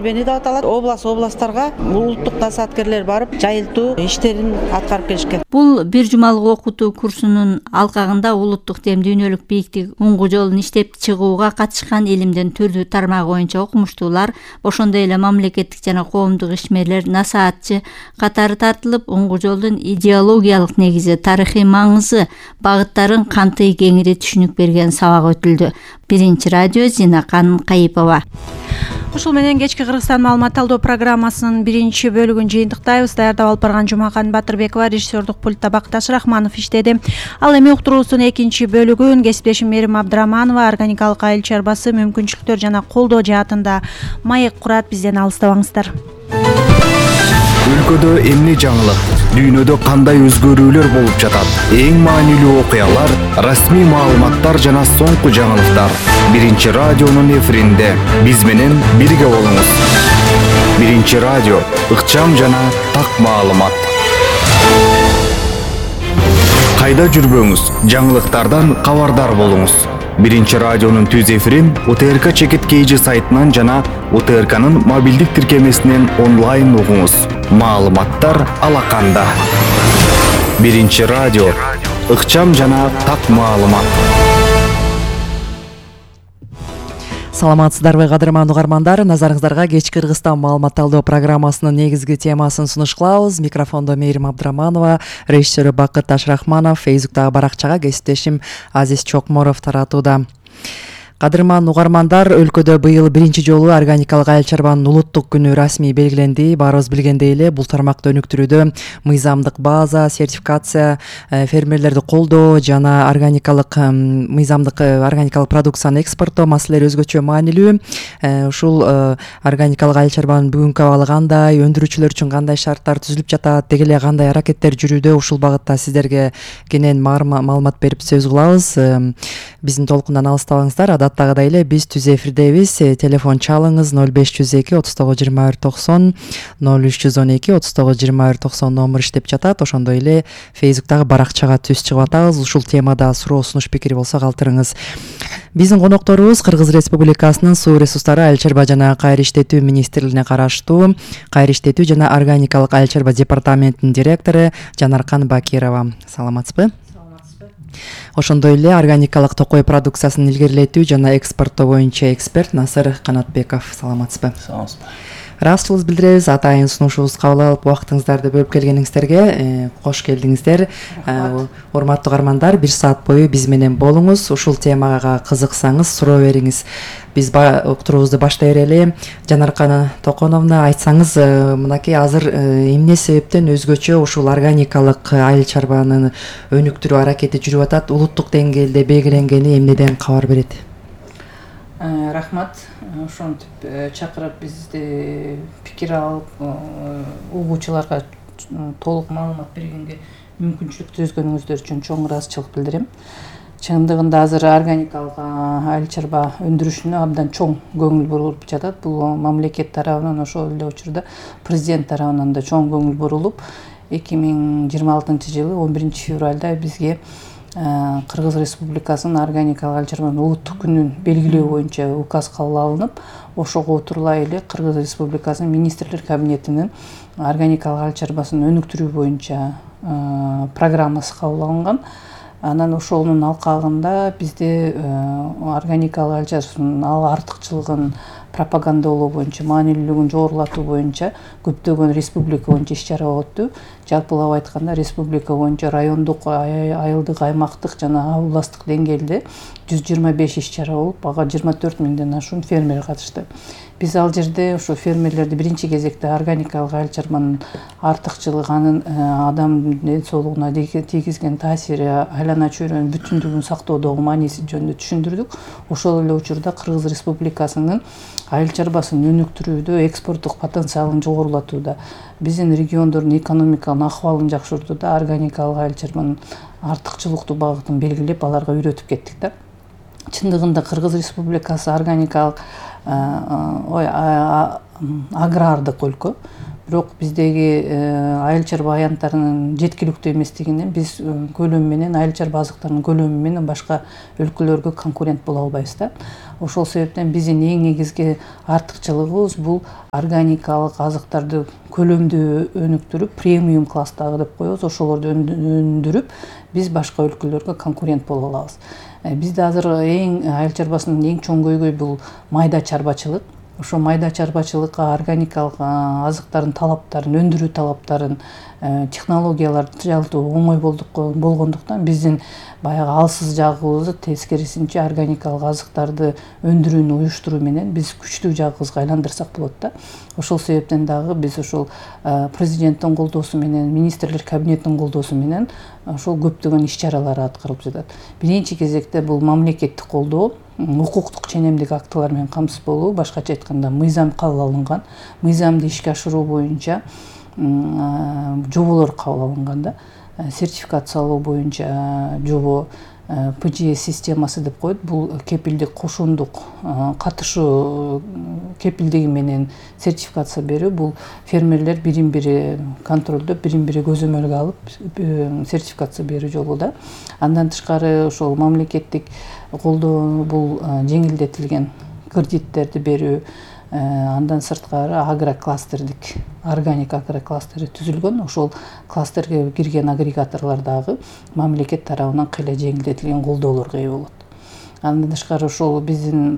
Бени да аталат. Областтарга улуттук насааткерлер барып, жайылтуу иштерин аткарып келишкен. Бул бир жумалык окутуу курсунун алкагында улуттук дем дүйнөлүк бийиктик уңгу жолун иштеп чыгууга катышкан элимдин түрдүү тармагы боюнча окумуштуулар, ошондой эле мамлекеттик жана коомдук ишмерлер, насаатчы катары тартылып, уңгу жолдун идеологиялык негизи, тарыхый маңызы, багыттарын кантип кеңири түшүнүк берген сабак өтүлдү. Биринчи радио Зинакан Кайыпова. Ушул менен кечки Кыргызстан маалымат талдоо программасынын биринчи бөлүгүн жыйынтыктайбыз. Даярдап алып барган Жумакан Батырбекова, режиссердук пультта Бакташ Рахманов иштеди. Ал эми уктуруусунун экинчи бөлүгүн кесиптешим Мерим Абдыраманова органикалык айыл чарбасы мүмкүнчүлүктөр жана колдоо жаатында маек курат. Бизден алыстабаңыздар. Өлкөдө эмне жаңылык, дүйнөдө кандай өзгөрүүлөр болуп жатат? Эң маанилүү окуялар, расмий маалыматтар жана соңку жаңылыктар. Биринчи радионун эфиринде биз менен бирге болуңуз. Биринчи радио, ыкчам жана так маалымат. Кайда жүрбөңүз, жаңылыктардан кабардар болуңуз. Биринчи радионун түз эфирин УТРК Чекит KG сайтынан жана УТРКнын мобилдик тиркемесинен онлайн угуңуз. Маалыматтар алаканда. Биринчи радио, ыкчам жана так маалымат. Саламатсыздарбы кадырман угармандар, назарыңыздарга кечки Кыргызстан маалымат талдоо программасынын негизги темасын сунуш кылабыз. Микрофондо Мерим Абдыраманова, режиссеру Бакташ Рахманов, Фейсбуктагы баракчага кесиптешим Азиз Чокморов таратууда. Кадырман угармандар, өлкөдө быйыл биринчи жолу органикалык айыл чарбанын улуттук күнү расмий белгиленди. Баарыбыз билгендей эле, бул тармакты өнүктүрүүдө мыйзамдык база, сертификация, фермерлерди колдоо жана органикалык продукцияны экспорттоо маселелери өзгөчө маанилүү. Ушул органикалык айыл чарбанын бүгүнкү абалы кандай, өндүрүүчүлөр үчүн кандай шарттар түзүлүп жатат, деги эле кандай аракеттер жүрүүдө, ушул багытта сиздерге кенен маалымат берип сөз кылабыз. Биздин толкундан алыстабаңыздар. Адаттагыдай эле биз түз эфирдебиз. Телефон чалыңыз 0502 39 21 90, 0312 39 21 90 номер иштеп жатат. Ошондой эле Фейсбуктагы баракчага түз чыгып атабыз. Ушул темада суроо, сунуш, пикир болсо калтырыңыз. Биздин конокторубуз Кыргыз Республикасынын суу ресурстары, айыл чарба жана кайра иштетүү министрлигине караштуу кайра иштетүү жана органикалык айыл чарба департаментинин директору Жанаркан Бакирова. Саламатсызбы? Ошондой эле органикалык токой продукциясын илгерилетүү жана экспорттоо боюнча эксперт Насыр Канатбеков. Саламатсызбы? Саламатсызбы. Ыраазычылыгыбызды билдиребиз. Атайын сунушубузду кабыл алып, убактыңыздарды бөлүп келгениңиздерге кош келдиңиздер. Урматтуу угармандар, 1 саат бою биз менен болуңуз. Ушул темага кызыксаңыз, суроо бериңиз. Биз уктуруубузду баштай берели. Жанаркан Токоновна, айтсаңыз, мынакей азыр эмне себептен өзгөчө ушул органикалык айыл чарбанын өнүктүрүү аракети жүрүп атат? Улуттук деңгээлде белгиленгени эмнеден кабар берет? Рахмат. Ошентип чакырып бизди пикир алып, угуучуларга толук маалымат бергенге мүмкүнчүлүк түзгөнүңүздөр үчүн чоң ыраазычылык билдирем. Чындыгында азыр органикалык айыл чарба өндүрүшүнө абдан чоң көңүл бурулуп жатат. Бул мамлекет тарабынан, ошол эле учурда президент тарабынан да чоң көңүл бурулуп, 2026 жылы 11 февралда бизге Кыргыз Республикасынын органикалык айыл чарбанын улуттук күнүн белгилөө боюнча указ кабыл алынып, ошого отурлай эле Кыргыз Республикасынын министрлер кабинетинин органикалык айыл чарбасын өнүктүрүү боюнча программасы кабыл алынган. Анан ошонун алкагында бизде органикалык айыл чарбасынын артыкчылыгын пропагандалоо боюнча, маанилүүлүгүн жогорулатуу боюнча көптөгөн республика боюнча иш-чара өттү. Жалпылап айтканда республика боюнча райондук, айылдык, аймактык жана областтык деңгээлде 125 иш-чара болуп, ага 24 миңден ашуун фермер катышты. Биз ал жерде ошо фермерлерди биринчи кезекте органикалык айыл чарбанын артыкчылыгы, анын адам ден соолугуна тийгизген таасири, айлана чөйрөнүн бүтүндүгүн сактоодогу мааниси жөнүндө түшүндүрдүк. Ошол эле учурда Кыргыз Республикасынын айыл чарбасын өнүктүрүүдө, экспорттук потенциалын жогорулатууда, биздин региондордун экономикалык акыбалын жакшыртууда органикалык айыл чарбанын артыкчылыктуу багытын белгилеп, аларга үйрөтүп кеттик да. Чындыгында Кыргыз Республикасы органикалык агрардык өлкө. бирок биздеги айыл чарба аянттарынын жеткиликтүү эместигинен биз көлөмү менен айыл чарба азыктарынын көлөмү менен башка өлкөлөргө конкурент боло албайбыз да. Ошол себептен биздин эң негизги артыкчылыгыбыз бул органикалык азыктарды көлөмдүү өнүктүрүп, премиум класстагы деп коебуз, ошолорду өндүрүп биз башка өлкөлөргө конкурент боло алабыз. Бизде азыр айыл чарбасынын эң чоң көйгөй бул майда чарбачылык. Ошо майда чарбачылыкка органикалык азыктардын талаптарын, өндүрүү талаптарын, технологияларды жалпы оңой болгондуктан биздин баягы алсыз жагыбызды тескерисинче органикалык азыктарды өндүрүүнү уюштуруу менен биз күчтүү жагыбызга айландырсак болот да. Ошол себептен дагы биз ошол президенттин колдоосу менен, министрлер кабинетинин колдоосу менен ошол көптөгөн иш-чаралар аткарылып жатат. Биринчи кезекте бул мамлекеттик колдоо, укуктук ченемдик актылар менен камсыз болуу, башкача айтканда мыйзам кабыл алынган, мыйзамды ишке ашыруу боюнча жоболор кабыл алынган да. Сертификациялоо боюнча жобо PGS системасы деп коет. Бул кепилдик кошундук катышуу кепилдиги менен сертификация берүү. Бул фермерлер бирин-бири контролдоп, бирин-бири көзөмөлгө алып сертификация берүү жолу да. Андан тышкары ошол мамлекеттик колдоо бул жеңилдетилген кредиттерди берүү. Андан сырткары агрокластердик, органик агрокластери түзүлгөн. Ошол кластерге кирген агрегаторлор дагы мамлекет тарабынан кыйла жеңилдетилген колдоолорго ээ болот. Андан тышкары ошол биздин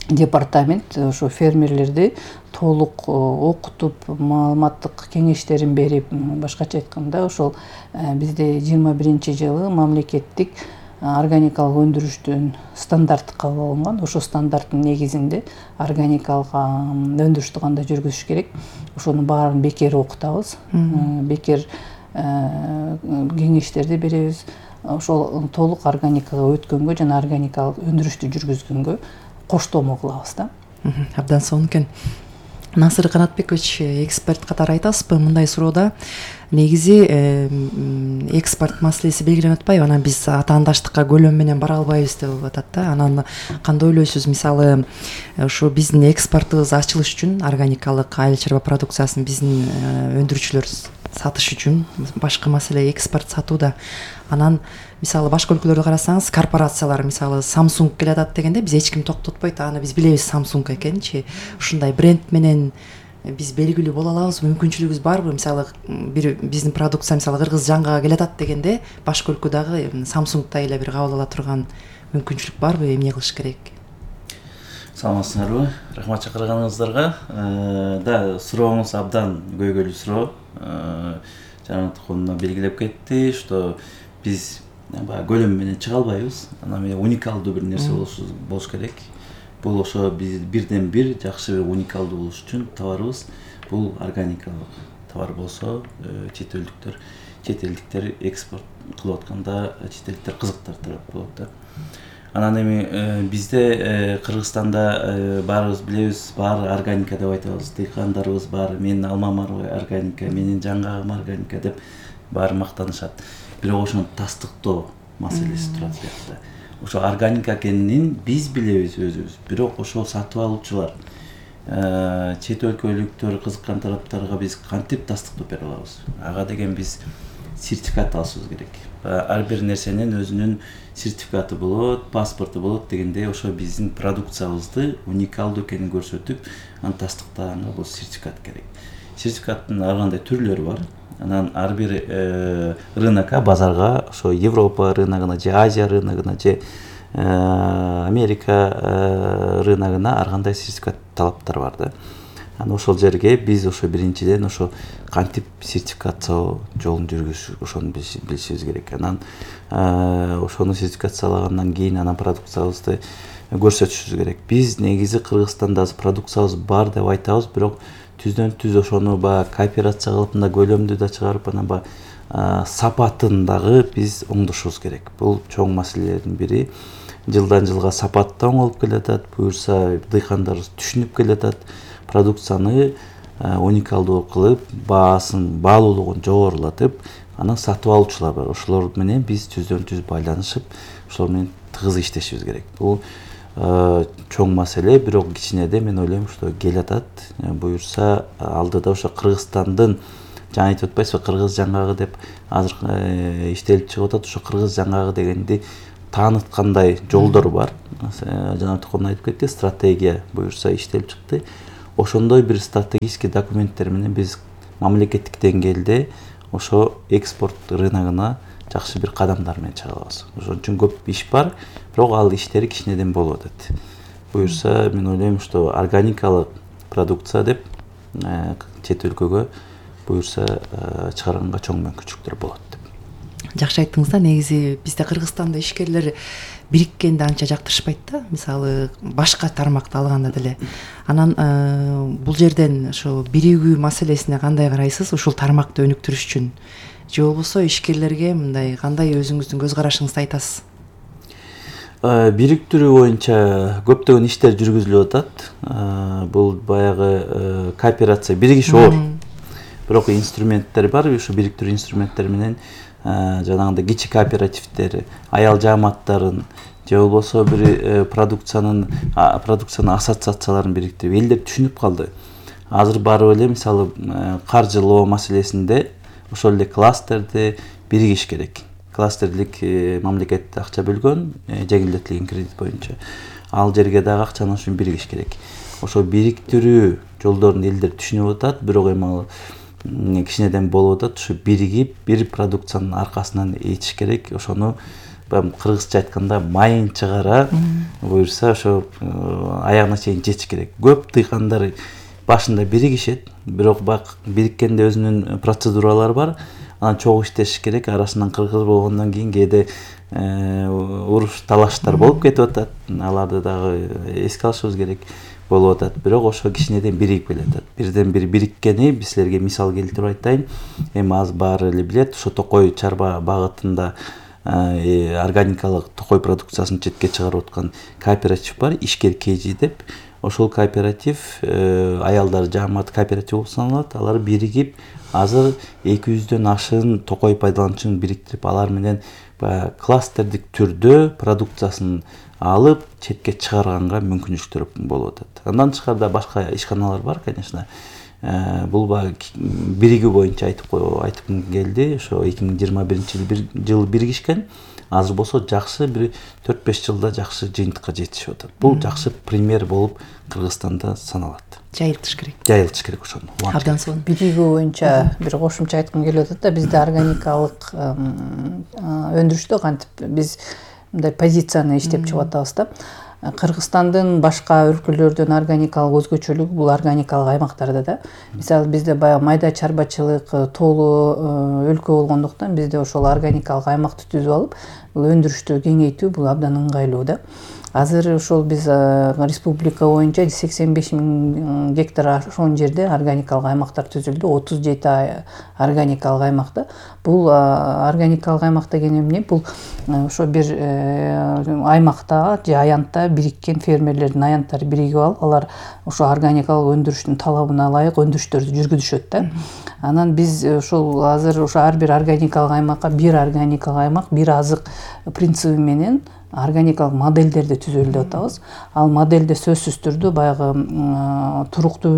департамент ошо фермерлерди толук окутуп, маалыматтык кеңештерин берип, башкача айтканда ошол бизде 21-жылы мамлекеттик органикалык өндүрүштүн стандарты кабыл алынган. Ошо стандарттын негизинде органикалык өндүрүштү кандай жүргүзүш керек, ошонун баарын бекер окутабыз. Бекер кеңештерди беребиз. Ошол толук органикага өткөнгө жана органикалык өндүрүштү жүргүзгөнгө коштомо кылабыз да. Абдан сонун экен. Насыр Канатбекович, эксперт катары айтасызбы мындай суроодо? Негизи экспорт маселеси белгиленип атпайбы? Анан биз атаандаштыкка көлөм менен бара албайбыз деп атат да. Анан кандай ойлойсуз? Мисалы, ушу биздин экспортубуз ачылыш үчүн органикалык айыл чарба продукциясын биздин өндүрүүчүлөр сатыш үчүн башкы маселе экспорт сатууда. Анан мисалы башка өлкөлөрдө карасаңыз, корпорациялар мисалы Samsung келатат дегенде биз эч ким токтотпойт. Аны биз билебиз Samsung экенчи. Ушундай бренд менен биз белгилүү боло алабызбы? Мүмкүнчүлүгүбүз барбы? Мисалы бир биздин продукция мисалы Кыргыз жаңгага келатат дегенде башка өлкө дагы Samsung'тай эле бир кабыл ала турган мүмкүнчүлүк барбы? Эмне кылыш керек? Саламатсыздарбы? Рахмат чакырганыңыздарга. Да, сурооңуз абдан көйгөйлүү суроо. Жанат колуна белгилеп кетти, что биз көлөм менен чыга албайбыз. Анан уникалдуу бир нерсе болуш керек. Бул ошо биз бирден бир жакшы бир уникалдуу болуш үчүн товарыбыз бул органикалык товар болсо, чет элдиктер экспорт кылып атканда чет элдиктер кызыктырып болот да. Анан эми бизде Кыргызстанда баарыбыз билебиз, баары органика деп айтабыз. Дыйкандарыбыз баары менин алмам органика, менин жаңгагым органика деп баары мактанышат. Бирок ошону тастыктоо маселеси турат сиякта. Ошо органика экенин биз билебиз өзүбүз. Бирок ошол сатып алуучулар, чет өлкөлүктөр кызыккан тараптарга биз кантип тастыктап бере алабыз? Ага деген биз сертификат алышыбыз керек. Ар бир нерсенин өзүнүн сертификаты болот, паспорту болот дегенде ошо биздин продукциябызды уникалдуу экенин көрсөтүп, аны тастыктаганга бул сертификат керек. Сертификаттын ар кандай түрлөрү бар. Анан ар бир рынокко, базарга, ошо Европа рыногуна же Азия рыногуна же Америка рыногуна ар кандай сертификат талаптар бар да. Анан ошол жерге биз ошо биринчиден ошо кантип сертификациялоо жолун жүргүзүш, ошону билишибиз керек. Анан ошону сертификациялагандан кийин анан продукциябызды көрсөтүшүбүз керек. Биз негизи Кыргызстанда продукциябыз бар деп айтабыз, бирок түздөн түз ошону кооперация кылып мындай көлөмдүү да чыгарып, анан сапатын дагы биз оңдошубуз керек. Бул чоң маселелердин бири. Жылдан жылга сапат да оңолуп келатат, буюрса дыйкандар түшүнүп келатат. Продукцияны уникалдуу кылып, баалуулугун жогорулатып, анан сатып алуучулар бар. Ошолор менен биз түздөн түз байланышып, ошолор менен тыгыз иштешибиз керек. Бул чоң маселе, бирок кичинеде мен ойлойм, что келатат. Буюрса алдыда ошо Кыргызстандын жаңы айтып атпайсызбы, кыргыз жаңгагы деп азыр иштелип чыгып атат. Ошо кыргыз жаңгагы дегенди тааныткандай жолдор бар. Жана Токон айтып кетти, стратегия буюрса иштелип чыкты. Ошондой бир стратегический документтер менен биз мамлекеттик деңгээлде ошо экспорт рыногуна жакшы бир кадамдар менен чыга алабыз. Ошон үчүн көп иш бар, бирок ал иштери кичинеден болуп атат. Буюрса мен ойлойм, что органикалык продукция деп чет өлкөгө буюрса чыгарганга чоң мүмкүнчүлүктөр болот деп. Жакшы айттыңыз да. Негизи бизде Кыргызстанда ишкерлер бириккенди анча жактырышпайт да. Мисалы башка тармакты алганда деле. Анан бул жерден ошо биригүү маселесине кандай карайсыз? Ушул тармакты өнүктүрүш үчүн же болбосо ишкерлерге мындай кандай өзүңүздүн көз карашыңызды айтасыз? Бириктирүү боюнча көптөгөн иштер жүргүзүлүп атат. Бул баягы кооперация, биригиш оор. Бирок инструменттер бар, ушу бириктирүү инструменттери менен жанагындай кичи кооперативдер, аял жааматтарын же болбосо бир продукцияны ассоциацияларын бириктирип элдер түшүнүп калды. Азыр барып эле мисалы каржылоо маселесинде ошол эле кластерди биригиш керек. Кластерлик мамлекет акча бөлгөн, жеңилдетилген кредит боюнча. Ал жерге дагы акчаны ошо биригиш керек. Ошо бириктирүү жолдорун элдер түшүнүп атат, бирок эми кичинеден болуп атат. Ушу биригип бир продукциянын аркасынан этиш керек. Ошону кыргызча айтканда майын чыгара, буюрса ошо аягына чейин жетиш керек. Көп дыйкандар башында биригишет, бирок бириккенде өзүнүн процедуралары бар. Анан чогуу иштеш керек. Арасынан кыргыз болгондон кийин кээде уруш талаштар болуп кетип атат. Аларды дагы эске алышыбыз керек болуп атат. Бирок ошо кичинеден биригип келатат. Бирден бири бириккени биз силерге мисал келтирип айтайын. Эми аз баары эле билет, ошо Токой чарба багытында органикалык токой продукциясын четке чыгарып аткан кооператив бар, Ишкер КЖ деп. Ошол кооператив аялдар жаамат кооператив болуп саналат. Алар биригип азыр 200дөн ашык токой пайдалануучун бириктирип, алар менен кластердик түрдө продукциясын алып четке чыгарганга мүмкүнчүлүктөр болуп атат. Андан тышкарыда башка ишканалар бар, конечно. Бул биригүү боюнча айтып келди. Ошо 2021-жылы биригишкен. Азыр болсо жакшы бир 4-5 жылда жакшы жыйынтыкка жетишип атат. Бул жакшы пример болуп Кыргызстанда саналат. Жайылтыш керек. Жайылтыш керек ошону. Абдан сонун. Биригүү боюнча бир кошумча айткым келип атат да, бизде органикалык өндүрүштө кантип биз мындай позицияны иштеп чыгып атабыз да. Кыргызстандын башка өлкөлөрдөн органикалык өзгөчөлүгү бул органикалык аймактарда да. Мисалы бизде баягы майда чарбачылык толуу өлкө болгондуктан бизде ошол органикалык аймакты түзүп алып, бул өндүрүштү кеңейтүү бул абдан ыңгайлуу да. Азыр ошол биз республика боюнча 85.000 гектар ошон жерде органикалык аймактар түзүлдү. 37 органикалык аймакта. Бул органикалык аймак деген эмне? Бул ошо бир аймакта же аянтта бириккен фермерлердин аянттары биригип алып, алар ошо органикалык өндүрүштүн талабына ылайык өндүрүштөрдү жүргүзүшөт да. Анан биз ошол азыр ошо ар бир органикалык аймакка бир органикалык аймак, бир азык принциби менен органикалык модельдерди түзөлү деп атабыз. Ал модельде сөзсүз түрдө баягы туруктуу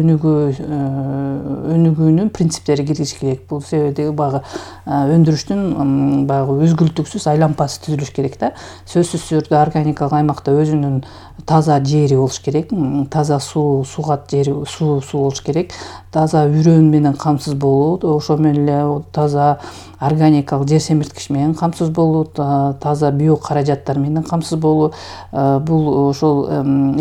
өнүгүүнүн принциптери киргизиш керек. Бул себеби баягы өндүрүштүн баягы үзгүлтүксүз айлампасы түзүлүш керек да. Сөзсүз түрдө органикалык аймакта өзүнүн таза жери болуш керек, таза сугат жери, суу болуш керек, таза үрөөн менен камсыз болуу, ошо менен эле таза органикалык жер семирткич менен камсыз болуу, таза био каражаттар менен камсыз болуу. Бул ошол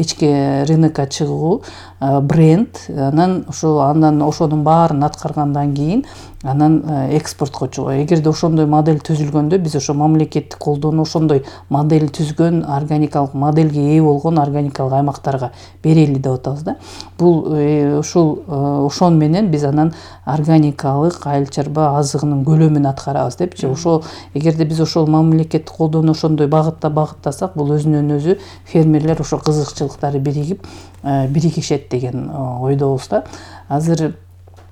ички рынокко чыгуу, бренд, анан ошонун баарын аткаргандан кийин анан экспортко чыгуу. Эгерде ошондой модель түзүлгөндө биз ошо мамлекеттик колдоону ошондой модель түзгөн, органикалык модельге ээ болгон органикалык аймактарга берели деп атабыз да. Бул ошон менен биз анан органикалык айыл чарба азыгынын көлөмүн аткарабыз депчи. Ошол эгерде биз ошол мамлекеттик колдоону ошондой багытта багыттасак, бул өзүнөн өзү фермерлер ошо кызыкчылыктары биригишет деген ойдобуз да. Азыр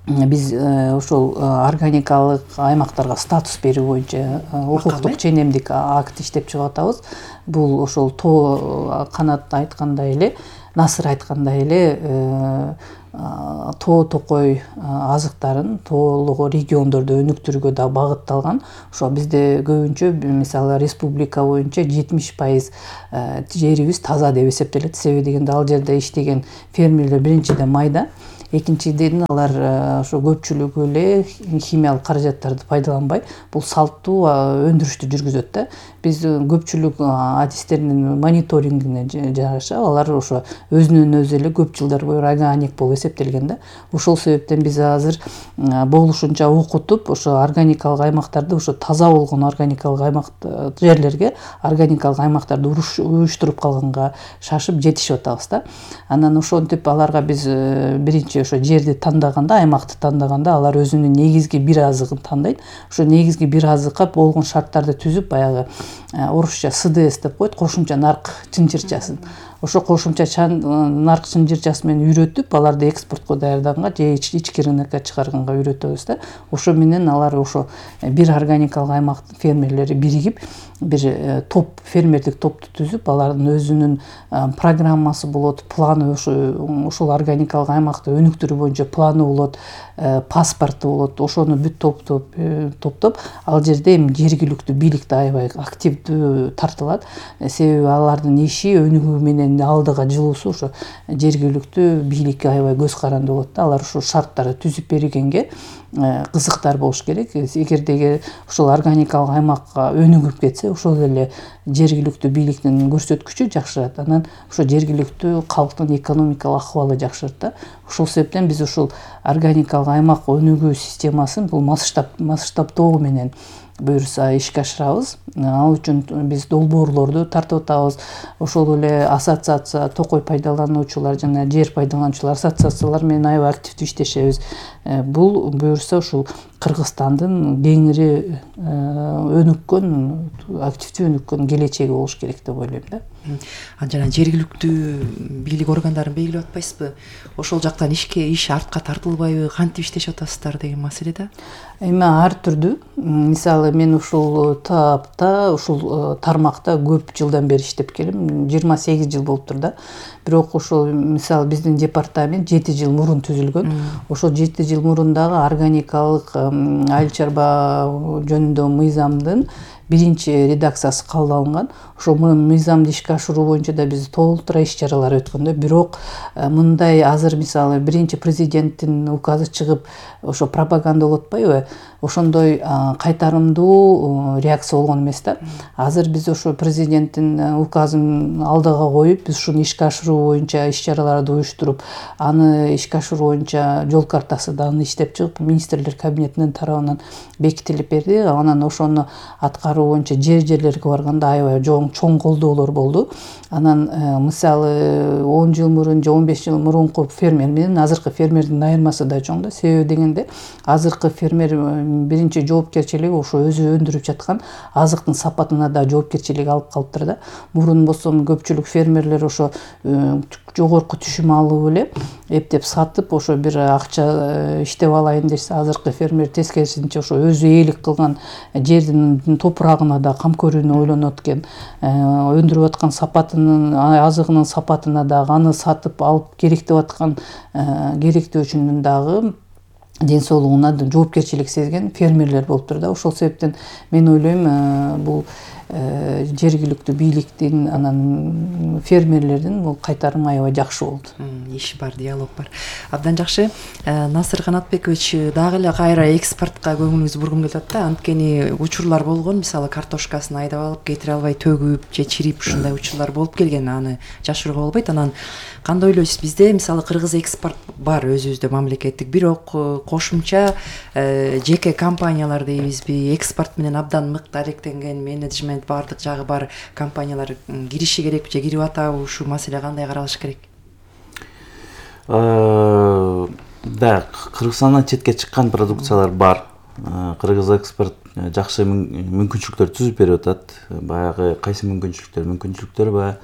биз ошол органикалык аймактарга статус берүү боюнча укуктук ченемдик акт иштеп чыгып атабыз. Бул ошол тоо Канат айткандай эле, Насыр айткандай эле тоо токой азыктарын тоолугу региондордо өнүктүрүүгө да багытталган. Ошо бизде көбүнчө мисалы республика боюнча 70% жерибиз таза деп эсептелет. Себеби дегенде ал жерде иштеген фермерлер биринчиден майда, экинчиден алар ошо көпчүлүгү эле химиялык каражаттарды пайдаланбай бул салттуу өндүрүштү жүргүзөт да. Биз көпчүлүк адистеринин мониторингине жараша алар ошо өзүнөн өзү эле көп жылдар бою органик болуп эсептелген да. Ошол себептен биз азыр болушунча окутуп ошо органикалык аймактарды, ошо таза болгон органикалык аймак жерлерге органикалык аймактарды уюштуруп калганга шашып жетишип атабыз да. Анан ошентип аларга биз биринчи ошо жерди тандаганда, аймакты тандаганда алар өзүнүн негизги бир азыгын тандайт. Ошо негизги бир азыкка болгон шарттарды түзүп, баягы орусча СДС деп коет, кошумча нарк чынчырчасын. Ошо кошумча нарк чынчырчасы менен үйрөтүп, аларды экспортко даярдаганга же ички рынокко чыгарганга үйрөтөбүз да. Ошо менен алар ошо бир органикалык аймак фермерлери биригип, бир топ, фермердик топту түзүп, алардын өзүнүн программасы болот, планы, ошол органикалык аймакты өнүктүрүү боюнча планы болот, паспорту болот. Ошону бүт топтоп, ал жерде эми жергиликтүү бийлик да аябай активдүү тартылат. Себеби алардын иши өнүгүү менен алдыга жылуусу ошо жергиликтүү бийликке аябай көз каранды болот да. Алар ошо шарттарды түзүп бергенге кызыктар болуш керек. Эгерде ошол органикалык аймакка өнүгүп кетсе, ошол эле жергиликтүү бийликтин көрсөткүчү жакшырат. Анан ошо жергиликтүү калктын экономикалык акыбалы жакшырат да. Ошол себептен биз ошол органикалык аймак өнүгүү системасын бул масштабтоо менен буюрса ишке ашырабыз. Ал үчүн биз долбоорлорду тартып атабыз. Ошол эле ассоциация, токой пайдалануучулар жана жер пайдалануучулар ассоциациялар менен аябай активдүү иштешебиз. Бул буюрса ушул Кыргызстандын кеңири өнүккөн, активдүү өнүккөн келечеги болуш керек деп ойлойм да. Жана жергиликтүү бийлик органдарын белгилеп атпайсызбы? Ошол жактан иш артка тартылбайбы, кантип иштешип атасыздар деген маселе да. Эми ар түрдүү. Мисалы мен ушул таапта, ушул тармакта көп жылдан бери иштеп келем. 28 жыл болуптур да. Бирок ошол мисалы биздин департамент 7 жыл мурун түзүлгөн. Ошол 7 жыл мурун дагы органикалык айыл чарба жөнүндө мыйзамдын биринчи редакциясы кабыл алынган. Ошол мыйзамды ишке ашыруу боюнча да биз толтура иш чаралар өткөн да. Бирок мындай азыр мисалы биринчи президенттин указы чыгып, ошо пропаганда болуп атпайбы? Ошондой кайтарымдуу реакция болгон эмес да. Азыр биз ошо президенттин указын алдыга коюп, биз ушуну ишке ашыруу боюнча иш чараларды уюштуруп, аны ишке ашыруу боюнча жол картасы дагы иштеп чыгып, министрлер кабинетинин тарабынан бекитилип берди. Анан ошону аткаруу боюнча жерлерге барганда аябай чоң колдоолор болду. Анан мисалы 10 жыл мурун же 15 жыл мурунку фермер менен азыркы фермердин айырмасы да чоң да. Себеби дегенде азыркы фермер биринчи жоопкерчилиги ошо өзү өндүрүп жаткан азыктын сапатына да жоопкерчилик алып калыптыр да. Мурун болсо көпчүлүк фермерлер ошо жогорку түшүм алып эле эптеп сатып, ошо бир акча иштеп алайын десе, азыркы фермер тескерисинче ошо өзү ээлик кылган жердин топурагына да кам көрүүнү ойлонот экен. Өндүрүп аткан сапатынын, азыгынын сапатына дагы аны сатып алып керектеп аткан керектөөчүнүн дагы ден соолугуна жоопкерчилик сезген фермерлер болуптур да. Ошол себептен мен ойлойм, бул жергиликтүү бийликтин, анан фермерлердин бул кайтарымы аябай жакшы болду. Иш бар, диалог бар. Абдан жакшы. Насыр Канатбекович, дагы эле кайра экспортко көңүлүңүздү бургум келип атат да. Анткени учурлар болгон, мисалы картошкасын айдап алып кетире албай төгүп же чирип, ушундай учурлар болуп келген. Аны жашырууга болбойт. Анан кандай ойлойсуз? Бизде мисалы кыргыз экспорт бар өзүбүздө мамлекеттик, бирок кошумча жеке компаниялар дейбизби, экспорт менен абдан мыкты алектенген менеджмент баардык жагы бар компаниялар кириши керек же кирип атабы? Ушул маселе кандай каралыш керек? Да, Кыргызстандан четке чыккан продукциялар бар. Кыргыз экспорт жакшы мүмкүнчүлүктөр түзүп берип атат. Баягы кайсы мүмкүнчүлүктөр баягы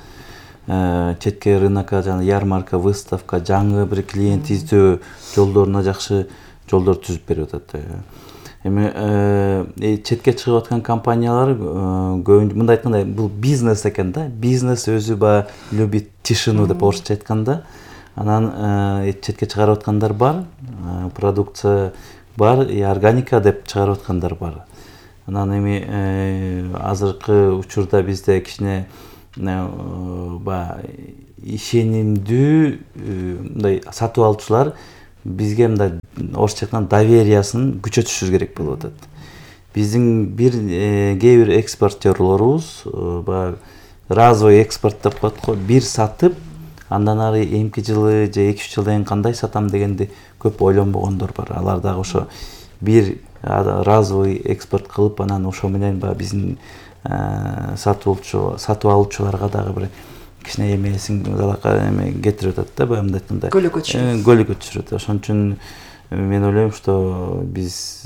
четке рынокко, жана ярмарка, выставка, жаңы бир клиент издөө жолдоруна жакшы жолдор түзүп берип атат. Эми четке чыгып аткан компаниялар көбүнчө мындай айтканда бул бизнес экен да. Бизнес өзү баягы любит тишину деп орусча айтканда. Анан четке чыгарып аткандар бар, продукция бар, органика деп чыгарып аткандар бар. Анан эми азыркы учурда бизде кичине баягы ишенимдүү мындай сатып алуучулар бизге мындай орусча айтканда довериясын күчөтүшүбүз керек болуп атат. Биздин кээ бир экспортерлорубуз баягы разовый экспорт деп коет го, бир сатып андан ары эмки жылы же 2-3 жылдан кийин кандай сатам дегенди көп ойлонбогондор бар. Алар дагы ошо бир разовый экспорт кылып анан ошо менен баягы биздин сатып алуучуларга дагы бир кичине эмесин кетирип атат да, баягы айтканда көйлөккө түшүрөт. Ошон үчүн мен ойлойм, что биз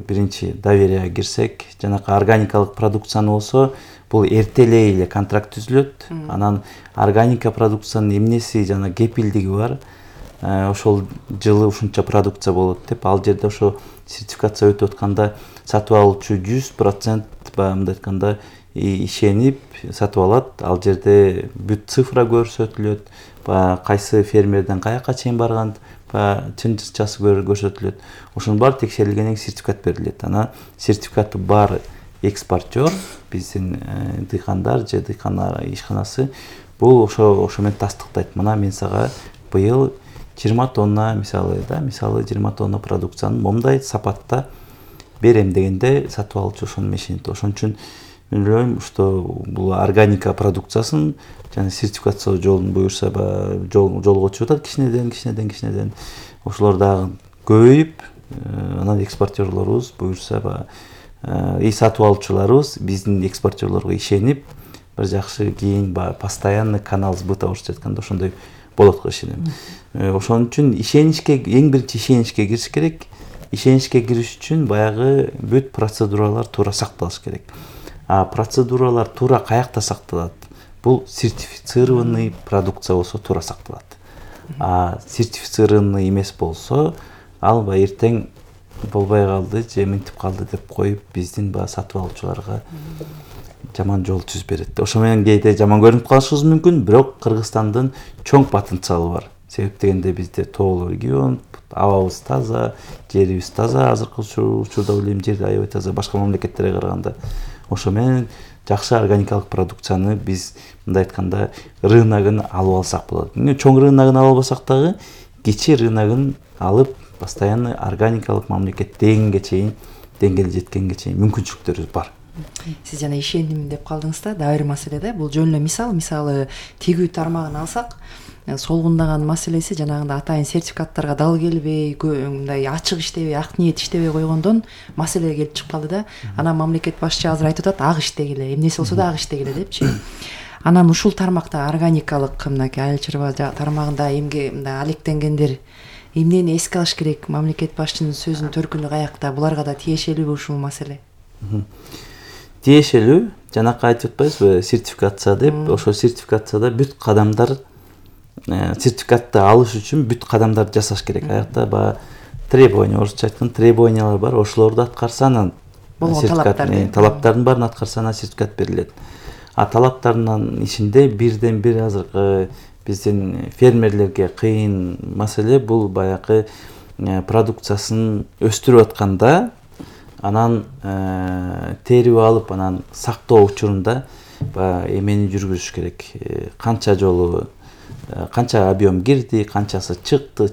биринчи доверияга кирсек, жанакы органикалык продукцияны болсо, бул эртелей эле контракт түзүлөт. Анан органика продукциянын эмнеси жана кепилдиги бар. Ошол жылы ушунча продукция болот деп, ал жерде ошо сертификация өтүп атканда сатып алуучу 100% баягы мындай айтканда ишенип сатып алат. Ал жерде бүт цифра көрсөтүлөт, баягы кайсы фермерден каяка чейин барган, баягы чын-чынчасы көрсөтүлөт. Ошонун баары текшерилгенден кийин сертификат берилет. Анан сертификаты бар экспортер, биздин дыйкандар же дыйкан ишканасы бул ошо менен тастыктайт. Мына мен сага быйыл 20 тонна мисалы 20 тонна продукцияны момундай сапатта берем дегенде сатып алуучу ошону ишенет. Ошон үчүн мен ойлойм, что бул органика продукциясын жана сертификация жолун буюрса жолго чыгып атат кичинеден. Ошолор дагы көбөйүп, анан экспортерлорубуз буюрса сатып алуучуларыбыз биздин экспортерлорго ишенип, бир жакшы кийин постоянный канал сбыта орусча айтканда ошондой болот го ишенем. Ошон үчүн эң биринчи ишеничке кириш керек. Ишеничке кириш үчүн баягы бүт процедуралар туура сакталыш керек. Процедуралар туура каякта сакталат? Бул сертифицированный продукция болсо туура сакталат. Сертифицированный эмес болсо, ал эртең болбой калды же минтип калды деп коюп, биздин сатып алуучуларга жаман жол түзүп берет. Ошо менен кээде жаман көрүнүп калышыбыз мүмкүн, бирок Кыргызстандын чоң потенциалы бар. Себеп дегенде бизде тоолуу регион, абабыз таза, жерибиз таза, азыркы учурда ойлойм жер аябай таза башка мамлекеттерге караганда. Ошо менен жакшы органикалык продукцияны биз мындай айтканда рыногун алып алсак болот. Чоң рыногун ала албасак дагы кичи рыногун алып постоянно органикалык мамлекет деңгээлге жеткенге чейин мүмкүнчүлүктөрүбүз бар. Сиз жана ишеним деп калдыңыз да, дагы бир маселе да. Бул жөн эле мисалы тигүү тармагын алсак, солгундаган маселеси жанагындай атайын сертификаттарга дал келбей, мындай ачык иштебей, ак ниет иштебей койгондон маселе келип чыгып калды да. Анан мамлекет башчы азыр айтып атат, ак иштегиле, эмнеси болсо да ак иштегиле депчи. Анан ушул тармакта органикалык мынакей айыл чарба тармагында мындай алектенгендер эмнени эске алыш керек? Мамлекет башчынын сөзүнүн төркүнү каякта? Буларга да тиешелүүбү ушул маселе? Тиешелүү, жанакы айтып атпайбызбы, сертификация деп. Ошо сертификацияда бүт кадамдар, сертификатты алыш үчүн бүт кадамдарды жасаш керек. Аякта требование, орусча айтканда требованиялар бар. Ошолорду аткарса анан талаптардын баарын аткарса анан сертификат берилет. Талаптардын ичинде бирден бир азыркы биздин фермерлерге кыйын маселе бул баягы продукциясын өстүрүп атканда анан терип алып анан сактоо учурунда эмени жүргүзүш керек. Канча жолу канча объем кирди, канчасы чыкты,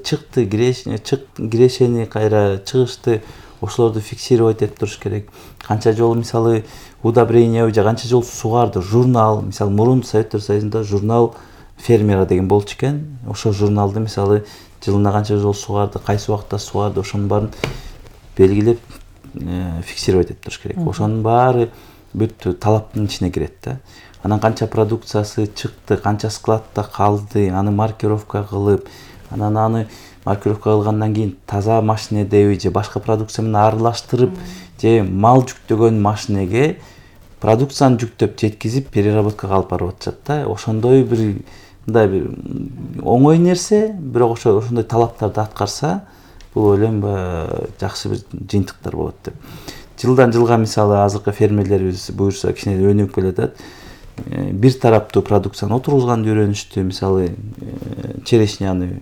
кирешени кайра чыгышты, ошолорду фиксировать этип туруш керек. Канча жолу мисалы удобрение же канча жолу сугарды, журнал, мисалы мурун Советтер Союзунда журнал фермера деген болчу экен. Ошо журналды мисалы жылына канча жолу сугарды, кайсы убакытта сугарды, ошонун баарын белгилеп фиксировать этип туруш керек. Ошонун баары бүт талаптын ичине кирет да. Анан канча продукциясы чыкты, канча складта калды, аны маркировка кылып, анан аны маркировка кылгандан кийин таза машинедеби же башка продукция менен аралаштырып, же мал жүктөгөн машинеге продукцияны жүктөп жеткизип переработкага алып барып атышат да. Ошондой мындай бир оңой нерсе, бирок ошондой талаптарды аткарса, бул ойлойм баягы жакшы бир жыйынтыктар болот деп. Жылдан жылга мисалы азыркы фермерлерибиз буюрса кичине өнүгүп келатат. Бир тараптуу продукцияны отургузганды үйрөнүштү. Мисалы черешняны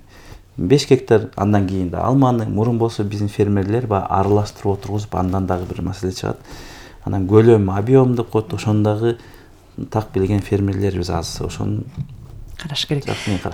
5 гектар, андан кийин да алманы. Мурун болсо биздин фермерлер баягы аралаштырып отургузуп, андан дагы бир маселе чыгат. Анан көлөм, объем деп коет, ошондогу так билген фермерлерибиз аз. Ошону караш керек.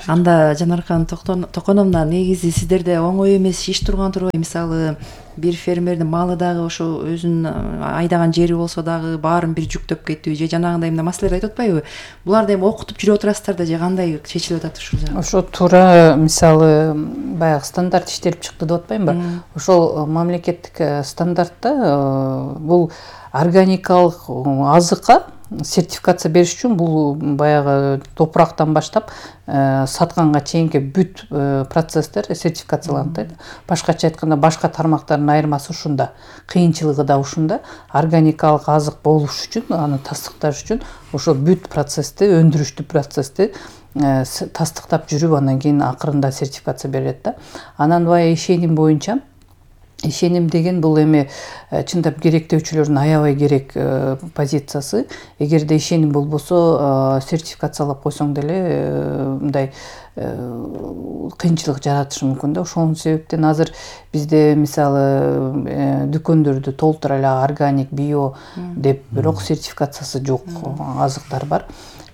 Анда Жанаркан Токоновна, негизи сиздерде оңой эмес иш турган турбайбы? Мисалы бир фермердин малы дагы ошо өзүнүн айдаган жери болсо дагы баарын бир жүктөп кетиби же жанагындай мына маселелер айтып атпайбы? Буларды эми окутуп жүрүп отурасыздар да же кандай чечилип атат ушул жагы? Ошо туура мисалы баягы стандарт иштелип чыкты деп атпаймынбы? Ошол мамлекеттик стандартта бул органикалык азыкка сертификация бериш үчүн бул баягы топурактан баштап сатканга чейинки бүт процесстер сертификацияланат. Башкача айтканда башка тармактардын айырмасы ушунда, кыйынчылыгы да ушунда. Органикалык азык болуш үчүн, аны тастыкташ үчүн ошо бүт процессти, өндүрүштүү процессти тастыктап жүрүп, андан кийин акырында сертификация берилет да. Анан баягы ишеним боюнча, ишеним деген бул эми чындап керектөөчүлөрдүн аябай керек позициясы. Эгерде ишеним болбосо сертификациялап койсоң деле мындай кыйынчылык жаратышы мүмкүн да. Ошол себептен азыр бизде мисалы дүкөндөрдү толтура эле органик, био деп, бирок сертификациясы жок азыктар бар.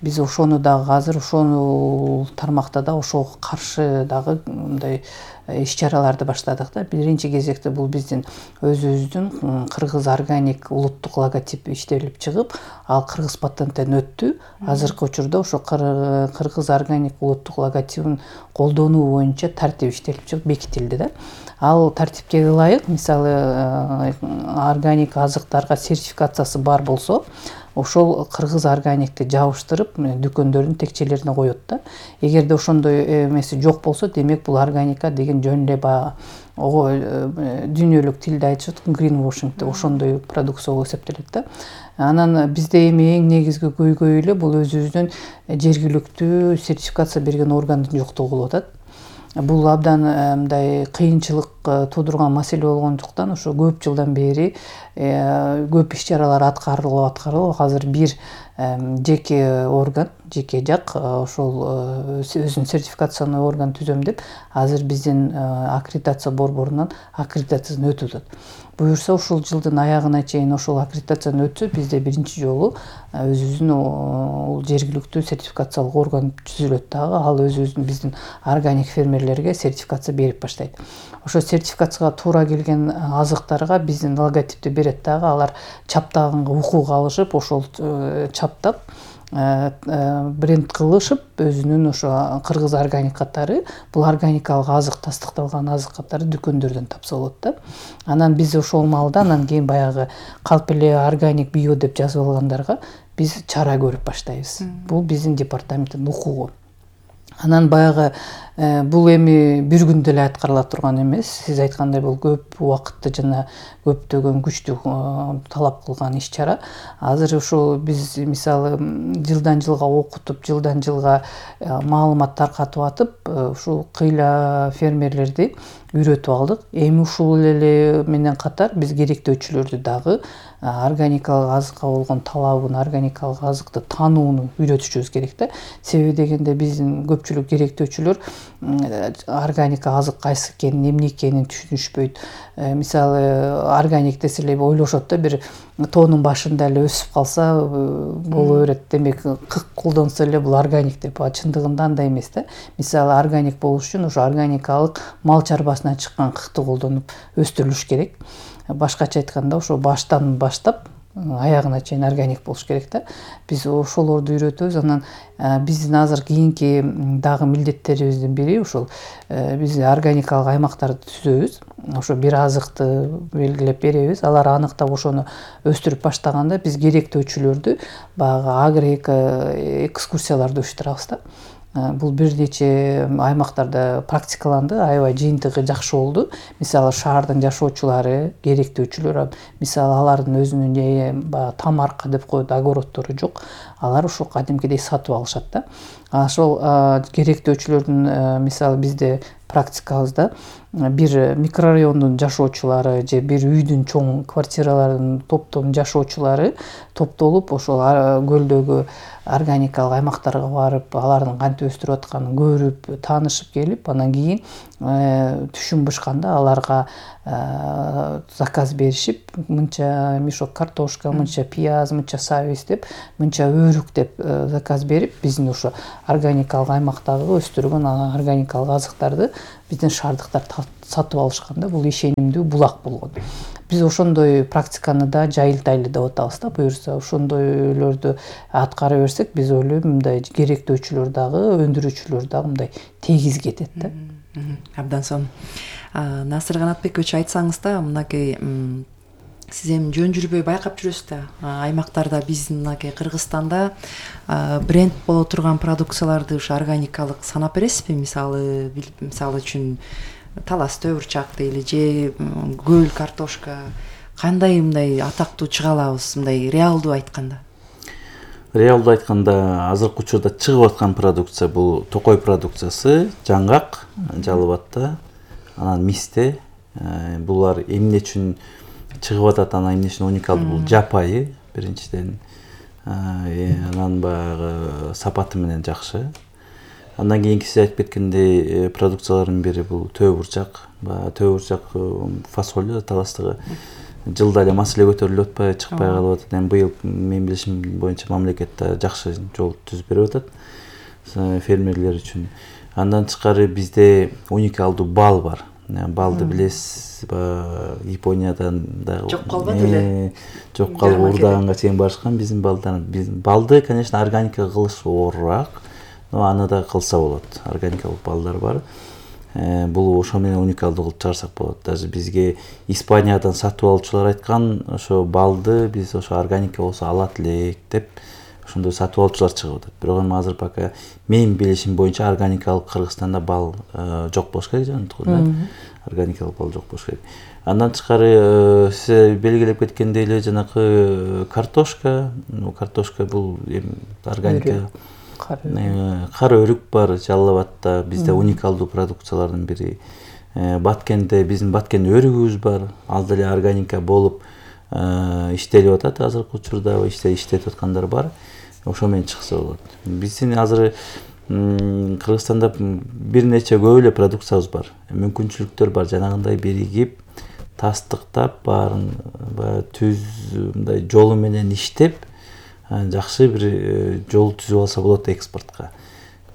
Биз ошону дагы азыр ошол тармакта да ошого каршы дагы мындай иш-чараларды баштадык да. Биринчи кезекте бул биздин өзүбүздүн кыргыз органик улуттук логотип иштелип чыгып, ал кыргыз патенттен өттү. Азыркы учурда ошо кыргыз органик улуттук логотипин колдонуу боюнча тартип иштелип чыгып бекитилди да. Ал тартипке ылайык, мисалы органик азыктарга сертификациясы бар болсо, ошол кыргыз органикти жабыштырып дүкөндөрдүн текчелерине коет да. Эгерде ошондой эмеси жок болсо, демек бул органика деген жөн эле баягы дүйнөлүк тилде айтышат, greenwashing деп, ошондой продукция болуп эсептелет да. Анан бизде эми эң негизги көйгөй эле бул өзүбүздүн жергиликтүү сертификация берген органдын жоктугу болуп атат. Бул абдан мындай кыйынчылык туудурган маселе болгондуктан ошо көп жылдан бери көп иш-чаралар аткарылып, азыр бир жеке орган, жеке жак ошол өзүнүн сертификациялануу орган түзөм деп, азыр биздин аккредитация борборунан аккредитациядан өтүп атат. Буюрса ушул жылдын аягына чейин ошол аккредитациядан өтсө, бизде биринчи жолу өзүбүздүн жергиликтүү сертификациялык орган түзүлөт дагы. Ал өзүбүздүн биздин органик фермерлерге сертификация берип баштайт. Ошо сертификацияга туура келген азыктарга биздин логотипти берет дагы. Алар чаптаганга укук алышып, ошол чаптап бренд кылышып, өзүнүн ошо кыргыз органик катары, бул органикалык азык, тастыкталган азык катары дүкөндөрдөн тапса болот да. Анан биз ошол маалда, анан кийин баягы калп эле органик био деп жазып алгандарга биз чара көрүп баштайбыз. Бул биздин департаменттин укугу. Анан баягы бул эми бир күндө эле аткарыла турган эмес. Сиз айткандай бул көп убакытты жана көптөгөн күчтү талап кылган иш-чара. Азыр ушул биз мисалы жылдан жылга окутуп, жылдан жылга маалымат таркатып атып, ушул кыйла фермерлерди үйрөтүп алдык. Эми ушул эле менен катар биз керектөөчүлөрдү дагы органикалык азыкка болгон талабын, органикалык азыкты таанууну үйрөтүшүбүз керек да. Себеби дегенде биздин көпчүлүк керектөөчүлөр органика азык кайсы экенин, эмне экенин түшүнүшпөйт. Мисалы органик десе эле ойлошот да, бир тоонун башында эле өсүп калса боло берет, демек кык колдонсо эле бул органик деп. Чындыгында андай эмес да. Мисалы органик болуш үчүн ошо органикалык мал чарбасынан чыккан кыкты колдонуп өстүрүлүш керек. Башкача айтканда ошо баштан баштап аягына чейин органик болуш керек да. Биз ошолорду үйрөтөбүз. Анан биздин азыр кийинки дагы милдеттерибиздин бири ушул биз органикалык аймактарды түзөбүз. Ошо бир азыкты белгилеп беребиз. Алар аныктап ошону өстүрүп баштаганда биз керектөөчүлөрдү баягы агроэко экскурсияларды уюштурабыз да. Бул бир нече аймактарда практикаланды, аябай жыйынтыгы жакшы болду. Мисалы шаардын жашоочулары, керектөөчүлөр, мисалы алардын өзүнүн тамарка деп коет, огороддору жок. Алар ошо кадимкидей сатып алышат да. ошол керектөөчүлөрдүн мисалы бизде практикабызда бир микрорайондун жашоочулары же бир үйдүн чоң квартиралардын топтом жашоочулары топтолуп ошол көлдөгү органикалык аймактарга барып алардын кантип өстүрүп атканын көрүп таанышып келип анан кийин түшүм бышканда аларга заказ беришип мынча мешок картошка, мынча пияз, мынча сабиз деп, мынча өрүк деп заказ берип биздин ошо органикалык аймактагы өстүргөн органикалык азыктарды биздин шаардыктар сатып алышканда бул ишенимдүү булак болгон. Биз ошондой практиканы да жайылтайлы деп атабыз да. Буюрса ошондойлорду аткара берсек, биз ойлойм мындай керектөөчүлөр дагы, өндүрүүчүлөр дагы мындай тегиз кетет да. Абдан сонун. Насыр Канатбекович, айтсаңыз да, мынакей сиз эми жөн жүрбөй байкап жүрөсүз да, аймактарда биздин мынакей Кыргызстанда бренд боло турган продукцияларды ушу органикалык санап бересизби? Мисалы үчүн талас төбүрчак дейли же көл картошка, кандай мындай атактуу чыга алабыз, мындай реалдуу айтканда? Реалдуу айтканда азыркы учурда чыгып аткан продукция бул токой продукциясы, жаңгак, жалыбатта, анан мисте. Булар эмне үчүн чыгып атат, анан эмне үчүн уникалдуу? Бул жапайы биринчиден, анан баягы сапаты менен жакшы. Андан кийинки сиз айтып кеткендей продукциялардын бири бул төбүрчак. Төбүрчак фасоль таластыгы жылда эле маселе көтөрүлүп атпайбы, чыкпай калып атат. Эми быйыл менин билишим боюнча мамлекетте жакшы жол түзүп берип атат фермерлер үчүн. Андан тышкары бизде уникалдуу бал бар. Балды билесиз, Япониядан дагы жок калбады эле. Жок калып урдаганга чейин барышкан биздин балдар. Балды, конечно, органика кылыш оорураак, но аны да кылса болот. Органикалык балдар бар. Бул ошо менен уникалдуу кылып чыгарсак болот. Даже бизге Испаниядан сатып алуучулар айткан, ошо балды биз ошо органика болсо алат элек деп ошондой сатып алуучулар чыгып атат. Бирок эми азыр пока менин билишим боюнча органикалык Кыргызстанда бал жок болуш керек, жанагы органикалык бал жок болуш керек. Андан тышкары сиз белгилеп кеткендей эле жанагы картошка бул эми органика. Кара өрүк бар Жалал-Абадта, бизде уникалдуу продукциялардын бири. Баткенде биздин Баткен өрүгүбүз бар, ал деле органика болуп иштелип атат азыркы учурда, иштетип аткандар бар. Ошо менен чыкса болот. Биздин азыр Кыргызстанда бир нече көп эле продукциябыз бар. Мүмкүнчүлүктөр бар, жанагындай биригип, тастыктап, баарын түз мындай жолу менен иштеп, жакшы бир жол түзүп алса болот экспортко.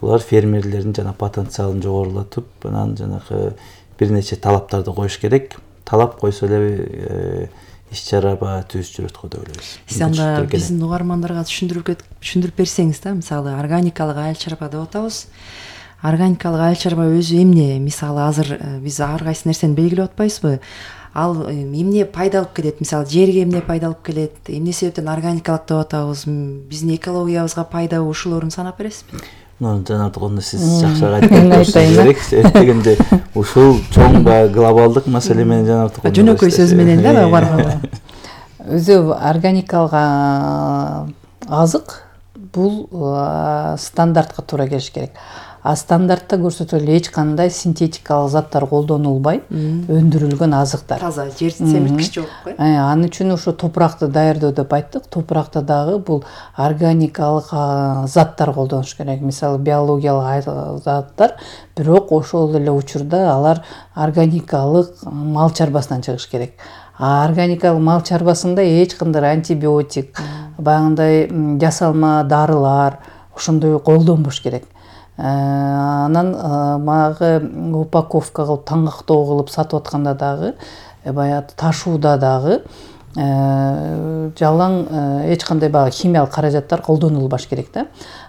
Булар фермерлердин жана потенциалын жогорулатып, анан жанагы бир нече талаптарды коюш керек. Талап койсо эле иш-чара түз жүрөт го деп ойлойбуз. Сиз анда биздин угармандарга түшүндүрүп берсеңиз да, мисалы органикалык айыл чарба деп атабыз. Органикалык айыл чарба өзү эмне? Мисалы азыр биз ар кайсы нерсени белгилеп атпайбызбы? Ал эмне пайда алып келет? Мисалы жерге эмне пайда алып келет? Эмне себептен органикалык деп атабыз? Биздин экологиябызга пайда ушулорун санап бересизби? Жанагы сиз жакшыраак айтып керек. Дегенде ушул чоң глобалдык маселе менен жанагы жөнөкөй сөз менен да барганда. Өзү органикалык азык бул стандартка туура келиш керек. Стандартта көрсөтүлгөн эч кандай синтетикалык заттар колдонулбай өндүрүлгөн азыктар. Таза жер семирткич жок го. Анын үчүн ошо топуракты даярдоо деп айттык. Топуракта дагы бул органикалык заттар колдонуш керек. Мисалы биологиялык заттар, бирок ошол эле учурда алар органикалык мал чарбасынан чыгыш керек. Органикалык мал чарбасында эч кандай антибиотик, баягындай жасалма дарылар ошондой колдонбош керек. Анан магы упаковка кылып таңгактоо кылып сатып атканда дагы баягы ташууда дагы жалаң эч кандай баягы химиялык каражаттар колдонулбаш керек да.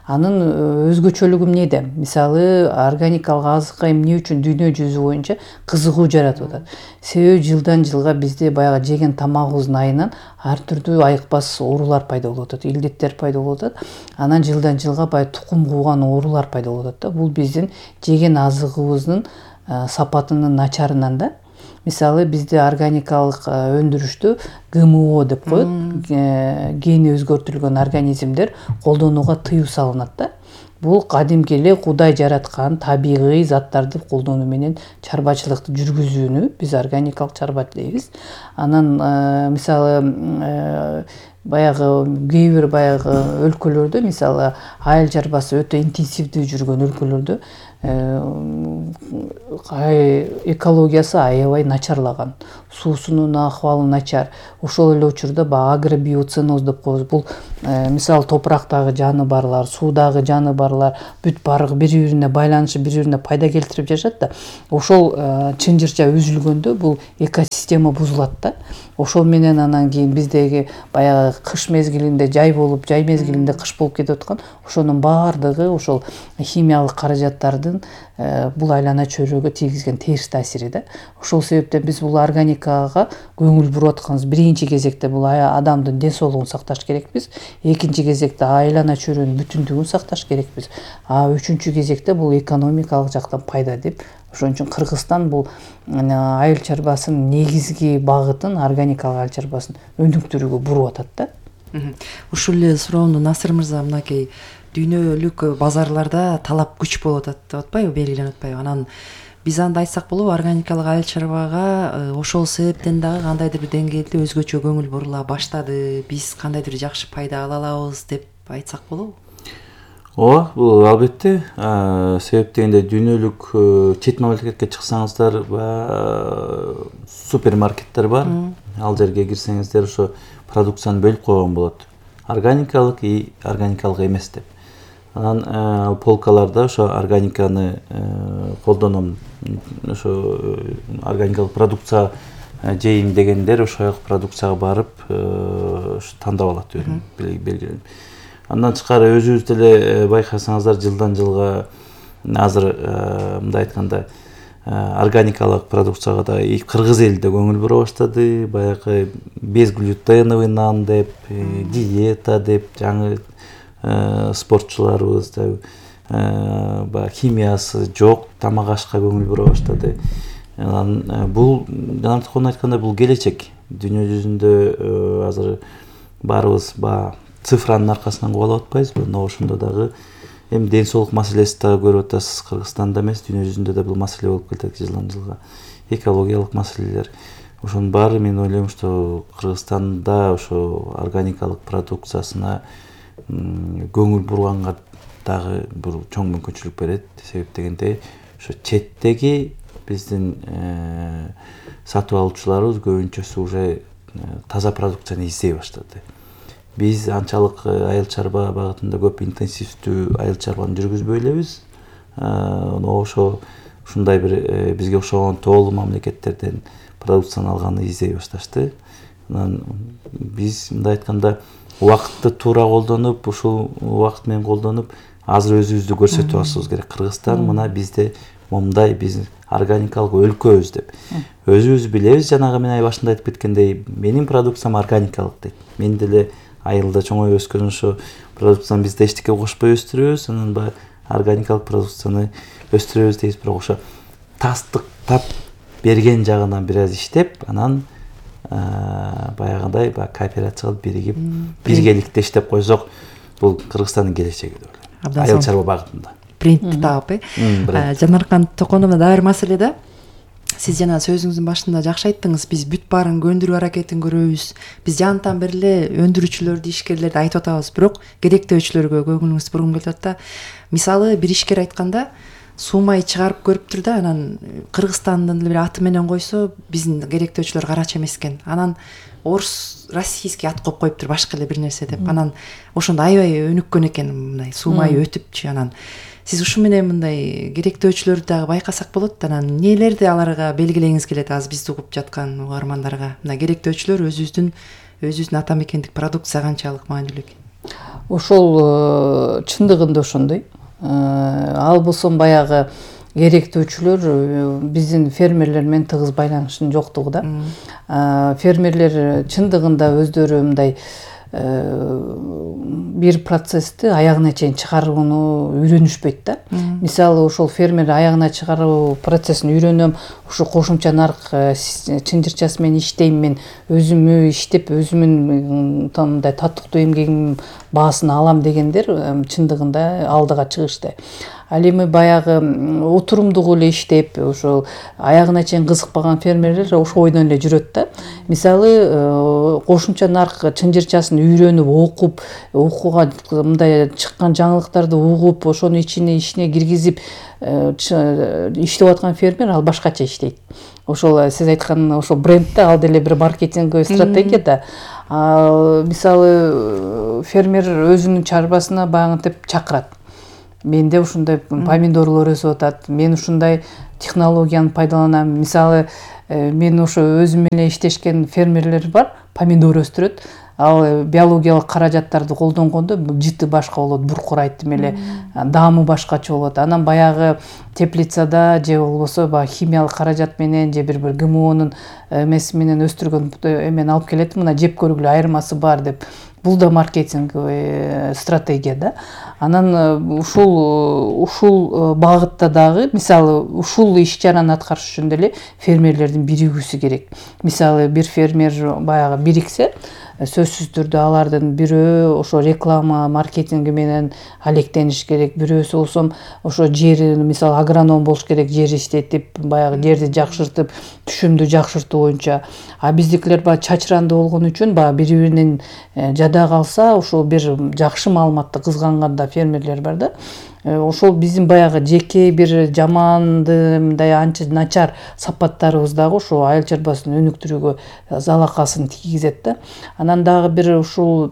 Анын өзгөчөлүгү эмнеде? Мисалы органикалык азыкка эмне үчүн дүйнө жүзү боюнча кызыгуу жаратып атат? Себеби жылдан жылга бизде баягы жеген тамагыбыздын айынан ар түрдүү айыкпас оорулар пайда болуп атат, илдеттер пайда болуп атат. Анан жылдан жылга баягы тукум кууган оорулар пайда болуп атат да. Бул биздин жеген азыгыбыздын сапатынын начарынан да. Мисалы бизде органикалык өндүрүштө ГМО деп коет, гени өзгөртүлгөн организмдер колдонууга тыюу салынат да. бул кадимки эле Кудай жараткан табигый заттарды колдонуу менен чарбачылыкты жүргүзүүнү биз органикалык чарба дейбиз. Анан мисалы баягы кээ бир баягы өлкөлөрдө, мисалы айыл чарбасы өтө интенсивдүү жүргөн өлкөлөрдө экологиясы аябай начарлаган, суусунун акыбалы начар. Ошол эле учурда агробиоценоз деп коебуз. Бул мисалы топурактагы жаны барлар, суудагы жаны барлар бүт баары бири-бирине байланышып, бири-бирине пайда келтирип жашат да. Ошол чынжырча үзүлгөндө бул экосистема бузулат да. Ошол менен анан кийин биздеги баягы кыш мезгилинде жай болуп, жай мезгилинде кыш болуп кетип аткан ошонун баардыгы ошол химиялык каражаттардын бул айлана чөйрөгө тийгизген терс таасири да. Ошол себептен биз бул органикага көңүл буруп атканбыз. Биринчи кезекте бул адамдын ден соолугун сакташ керекпиз. Экинчи кезекте айлана чөйрөнүн бүтүндүгүн сакташ керекпиз. Үчүнчү кезекте бул экономикалык жактан пайда деп. Ошон үчүн Кыргызстан бул айыл чарбасынын негизги багытын, органикалык айыл чарбасын өнүктүрүүгө буруп атат да. Ушул эле суроону Насыр мырза, мынакей дүйнөлүк базарларда талап күч болуп атат деп атпайбы, белгиленип атпайбы? Анан биз анда айтсак болобу, органикалык айыл чарбага ошол себептен дагы кандайдыр бир деңгээлде өзгөчө көңүл бурула баштады, биз кандайдыр жакшы пайда ала алабыз деп айтсак болобу? Ооба, бул албетте. Себеп дегенде дүйнөлүк чет мамлекетке чыксаңыздар, супермаркеттер бар. Ал жерге кирсеңиздер ошо продукцияны бөлүп койгон болот. Органикалык и органикалык эмес деп. Анан полкаларда ошо органиканы колдоном, ошо органикалык продукция жейм дегендер ошол продукцияга барып тандап алат өзүн белгиленип. Андан тышкары өзүбүз деле байкасаңыздар, жылдан жылга азыр мындай айтканда органикалык продукцияга да кыргыз эли да көңүл бура баштады. Баягы безглютеновый нан деп, диета деп, жаңы спортчуларыбыз да химиясы жок тамак ашка көңүл бура баштады. Бул жанартыкон айткандай бул келечек. Дүйнө жүзүндө азыр баарыбыз цифранын аркасынан кубалап атпайбызбы? Но ошондо дагы эми ден соолук маселеси дагы көрүп атасыз. Кыргызстанда эмес, дүйнө жүзүндө да бул маселе болуп келатат жылдан жылга. Экологиялык маселелер. Ошонун баары мен ойлойм, что Кыргызстанда ошо органикалык продукциясына көңүл бурганга дагы бир чоң мүмкүнчүлүк берет. Себеп дегенде ошо четтеги биздин сатып алуучуларыбыз көбүнчөсү уже таза продукцияны издей баштады. Биз анчалык айыл чарба багытында көп интенсивдүү айыл чарбаны жүргүзбөй элебиз. Ошо ушундай бир бизге окшогон тоолуу мамлекеттерден продукцияны алганы издей башташты. Анан биз мындай айтканда убакытты туура колдонуп, ушул убакыт менен колдонуп, азыр өзүбүздү көрсөтүп алышыбыз керек. Кыргызстан мына бизде момундай, биз органикалык өлкөбүз деп. Өзүбүз билебиз, жанагы мен башында айтып кеткендей, менин продукциям органикалык дейт. Мен деле айылда чоңоюп өскөн ошо продукцияны биз да эчтеке кошпой өстүрөбүз, анан органикалык продукцияны өстүрөбүз дейбиз. Бирок ошо тастыктап берген жагынан бир аз иштеп, анан баягындай кооперациялык биригип, биргеликте иштеп койсок, бул Кыргызстандын келечеги деп ойлойм. Айыл чарба багытында. Брендти таап, Жанаркан Токоновна, дагы бир маселе да. Сиз жана сөзүңүздүн башында жакшы айттыңыз, биз бүт баарын көндүрүү аракетин көрөбүз. Биз жантан бери эле өндүрүүчүлөрдү, ишкерлерди айтып атабыз, бирок керектөөчүлөргө көңүлүңүз бургум келип атат да. Мисалы, бир ишкер айтканда, суумай чыгарып көрүптүр да, анан Кыргызстандын бир аты менен койсо, биздин керектөөчүлөр карача эмес экен. Анан орус российский ат коюптур, башка эле бир нерсе деп. Анан ошондо аябай өнүккөн экен, мындай суумай өтүпчү. Анан сиз ушу менен мындай керектөөчүлөрдү дагы байкасак болот. Анан эмнелерди аларга белгилегиңиз келет, азыр бизди угуп жаткан угармандарга? Мына керектөөчүлөр өзүбүздүн ата мекендик продукция канчалык маанилүү экен? Ошол чындыгында ошондой. Ал болсо баягы керектөөчүлөр биздин фермерлер менен тыгыз байланышынын жоктугу да. Фермерлер чындыгында өздөрү мындай бир процессти аягына чейин чыгарууну үйрөнүшпөйт да. Мисалы ошол фермер аягына чыгаруу процессин үйрөнөм, ушу кошумча нарк чынжырчасы менен иштейм, мен өзүмө иштеп өзүмүн мындай татыктуу эмгегимдин баасын алам дегендер чындыгында алдыга чыгышты. Ал эми баягы отурумдук эле иштеп, ошол аягына чейин кызыкпаган фермерлер ошол ойдон эле жүрөт да. Мисалы кошумча нарк чынжырчасын үйрөнүп окуп, окууга мындай чыккан жаңылыктарды угуп, ошону ичине киргизип иштеп аткан фермер ал башкача иштейт. Ошол сиз айткан ошол брендте ал деле бир маркетинговый стратегия да. Мисалы фермер өзүнүн чарбасына багынтип чакырат. Менде ушундай помидорлор өсүп атат, мен ушундай технологияны пайдаланам. Мисалы мен ошо өзүм менен иштешкен фермерлер бар, помидор өстүрөт. Ал биологиялык каражаттарды колдонгондо жыты башка болот, буркурайт эле, даамы башкача болот. Анан баягы теплицада же болбосо баягы химиялык каражат менен же бир ГМОнун эмеси менен өстүргөн эмени алып келет, мына жеп көргүлө айырмасы бар деп. Бул да маркетинговый стратегия да. Анан ушул багытта дагы, мисалы, ушул иш-чараны аткарыш үчүн деле фермерлердин биригүүсү керек. Мисалы, бир фермер баягы бириксе, сөзсүз түрдө алардын бирөө ошо реклама, маркетинги менен алектениш керек. Бирөөсү болсо ошо жери, мисалы, агроном болуш керек, жер иштетип, баягы жерди жакшыртып, түшүмдү жакшыртуу боюнча. А биздикилер баягы чачыранды болгон үчүн баягы бири-биринен жада калса, ошол бир жакшы маалыматты кызганганда фермерлер бар да. Ошол биздин баягы жеке бир жаманды, мындай анча начар сапаттарыбыз дагы ошо айыл чарбасын өнүктүрүүгө залакасын тийгизет да. Анан дагы бир ушул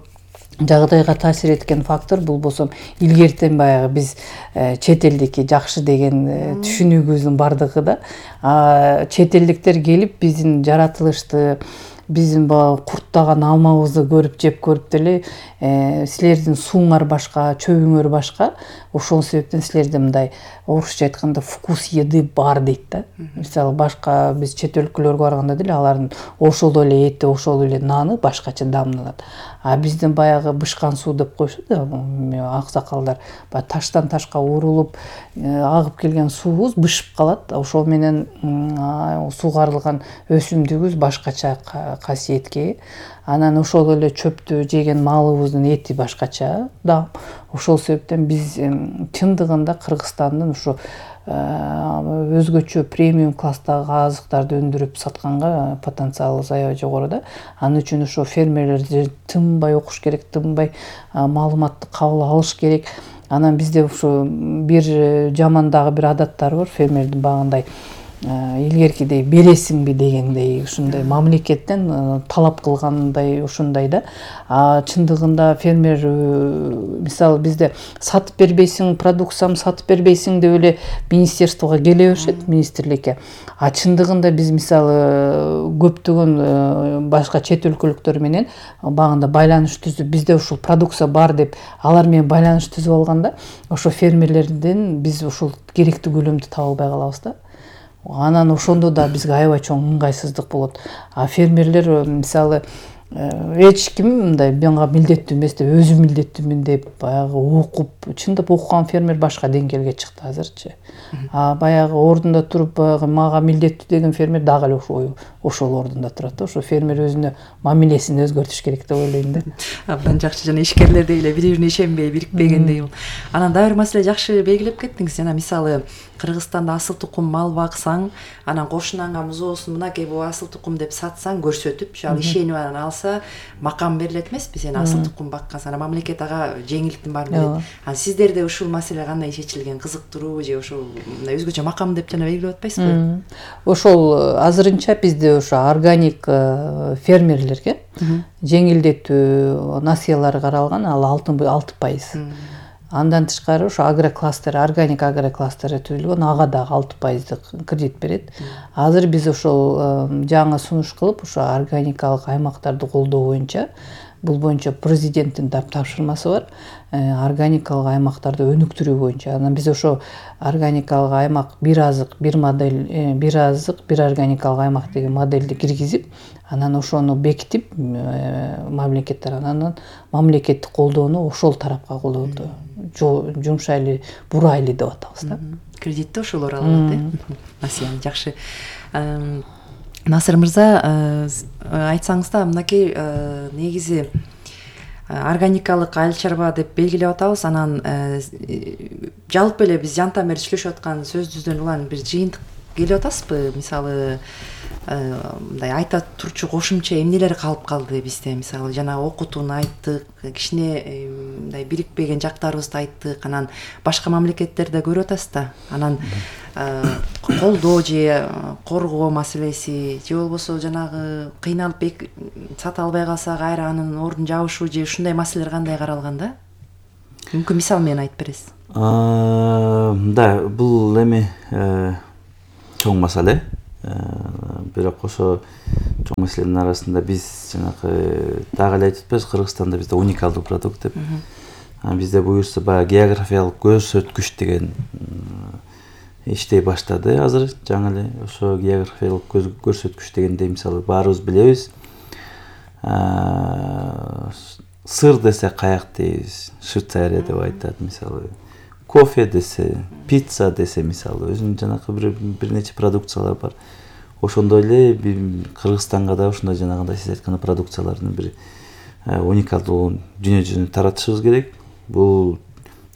жагдайга таасир эткен фактор бул болсо илгертен баягы биз чет элдики жакшы деген түшүнүгүбүздүн бардыгы да. Чет элдиктер келип биздин жаратылышты, биздин баягы курттаган алмабызды көрүп жеп көрүп деле силердин сууңар башка, чөбүңөр башка, ошол себептен силерде мындай орусча айтканда вкус еды бар дейт да. Мисалы, башка биз чет өлкөлөргө барганда деле алардын ошол эле эти, ошол эле наны башкача даамданат. А биздин баягы бышкан суу деп коюшат да, аксакалдар, баягы таштан ташка урулуп агып келген суубуз бышып калат. Ошол менен суугарылган өсүмдүгүбүз башкача касиетке. Анан ошол эле чөптү жеген малыбыздын эти башкача да. Ошол себептен биз чындыгында Кыргызстандын ушу өзгөчө премиум класстагы азыктарды өндүрүп сатканга потенциалыбыз аябай жогору да. Анын үчүн ошо фермерлер тынбай окуш керек, тынбай маалыматты кабыл алыш керек. Анан бизде ушу бир жаман дагы бир адаттар бар фермердин багындай. Илгеркидей бересиңби дегендей, ушундай мамлекеттен талап кылгандай ушундай да. Чындыгында фермер, мисалы, бизде сатып бербейсиң, продукциямды сатып бербейсиң деп эле министерствого келе беришет, министрликке. Чындыгында биз мисалы көптөгөн башка чет өлкөлүктөр менен багында байланыш түзүп, бизде ушул продукция бар деп алар менен байланыш түзүп алганда, ошо фермерлерден биз ушул керектүү көлөмдү таба албай калабыз да. Анан ошондо да бизге аябай чоң ыңгайсыздык болот. Фермерлер мисалы эч ким мындай мага милдеттүү эмес деп, өзүм милдеттүүмүн деп баягы окуп, чындап окуган фермер башка деңгээлге чыкты азырчы. Баягы ордунда туруп баягы мага милдеттүү деген фермер дагы эле ошол ордунда турат да. Ошо фермер өзүнө мамилесин өзгөртүш керек деп ойлойм да. Абдан жакшы, жана ишкерлердей эле бири-бирине ишенбей, бирикпегендей бул. Анан дагы бир маселе жакшы белгилеп кеттиңиз. Жана мисалы Кыргызстанда асыл тукум мал баксаң, анан кошунаңа музоосун мынакей бул асыл тукум деп сатсаң, көрсөтүп, ал ишенип анан алса, макам берилет эмеспи, сен асыл тукум баккансың. Анан мамлекет ага жеңилдиктин баарын берет. Анан сиздерде ушул маселе кандай чечилген, кызыктыруу же ошол мындай өзгөчө макам деп жана белгилеп атпайсызбы? Ошол азырынча бизде ошо органик фермерлерге жеңилдетүү насыялар каралган, ал 6%. Андан тышкары ошо агрокластер, органик агрокластери түзүлгөн, ага дагы 6% кредит берет. Азыр биз ошол жаңы сунуш кылып, ошо органикалык аймактарды колдоо боюнча бул боюнча президенттин тапшырмасы бар, органикалык аймактарды өнүктүрүү боюнча. Анан биз ошо органикалык аймак, бир азык, бир модель, бир азык, бир органикалык аймак деген модельди киргизип, анан ошону бекитип мамлекет тарабынан мамлекеттик колдоону ошол тарапка колдоду. Жумшайлы, бурайлы деп атабыз да. Кредитти ошолор алат Насия, жакшы. Насыр мырза, айтсаңыз да, мынакей негизи органикалык айыл чарба деп белгилеп атабыз. Анан жалпы эле биз жантан бери сүйлөшүп аткан сөзүбүздөн улам бир жыйынтык келип атасызбы? Мисалы мындай айта турчу кошумча эмнелер калып калды бизде? Мисалы жана окутууну айттык, кичине мындай бирикпеген жактарыбызды айттык. Анан башка мамлекеттерде көрүп атасыз да. Анан колдоо же коргоо маселеси, же болбосо жанагы кыйналып сата албай калса кайра анын ордун жабышуу же ушундай маселелер кандай каралган да? Мүмкүн мисал менен айтып бересиз. Да, бул эми чоң маселе. Бирок ошо чоң маселенин арасында биз жанагы дагы эле айтып атпайбыз, Кыргызстанда бизде уникалдуу продукт деп. Бизде буюрса баягы географиялык көрсөткүч деген иштей баштады азыр. Жаңы эле ошо географиялык көрсөткүч дегенде мисалы баарыбыз билебиз. Сыр десе каяк дейбиз, Швейцария деп айтат мисалы. Кофе десе, пицца десе мисалы, өзүнүн жанагы бир нече продукциялар бар. Ошондой эле Кыргызстанга да ушундай жанагындай сиз айткан продукциялардын бир уникалдуу дүйнө жүзүнө таратышыбыз керек. Бул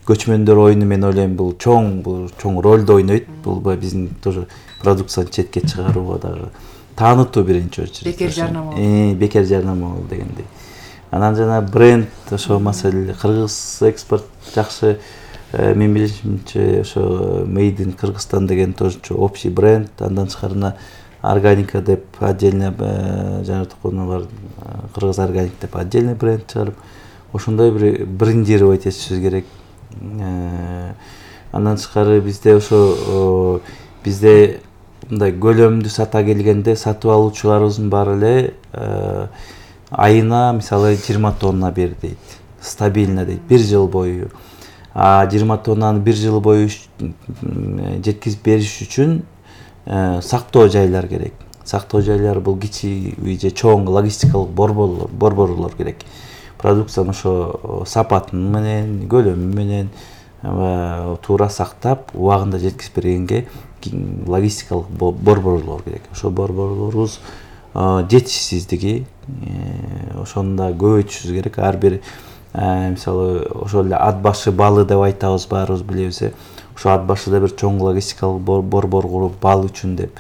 көчмөндөр оюну мен ойлойм, бул чоң ролду ойнойт. Бул биздин тоже продукцияны четке чыгарууга дагы таанытуу биринчи очередь. Бекер жарнама. Бекер жарнама дегендей. Анан жана бренд ошо маселе, кыргыз экспорт жакшы. Мен билишимче ошо Made in Кыргызстан деген тоже общий бренд. Андан тышкарына органика деп отдельно жанагы бар, кыргыз органик деп отдельный бренд чыгарып, ошондой бир брендировать этишибиз керек. Андан тышкары бизде ошо бизде мындай көлөмдүү сата келгенде сатып алуучуларыбыздын баары эле айына мисалы 20 тонна бер дейт. Стабильно дейт, 1 жыл бою. 20 тоннаны 1 жыл бою жеткизип бериш үчүн сактоо жайлар керек. Сактоо жайлары бул кичи же чоң логистикалык борборлор керек. Продукцияны ошо сапатын менен, көлөмү менен туура сактап, убагында жеткизип бергенге логистикалык борборлор керек. Ошо борборлорубуз жетишсиздиги, ошону да көбөйтүшүбүз керек. Ар бир мисалы ошол эле ат башы балы деп айтабыз, баарыбыз билебиз. Ошо ат башыда бир чоң логистикалык борбор куруп бал үчүн деп,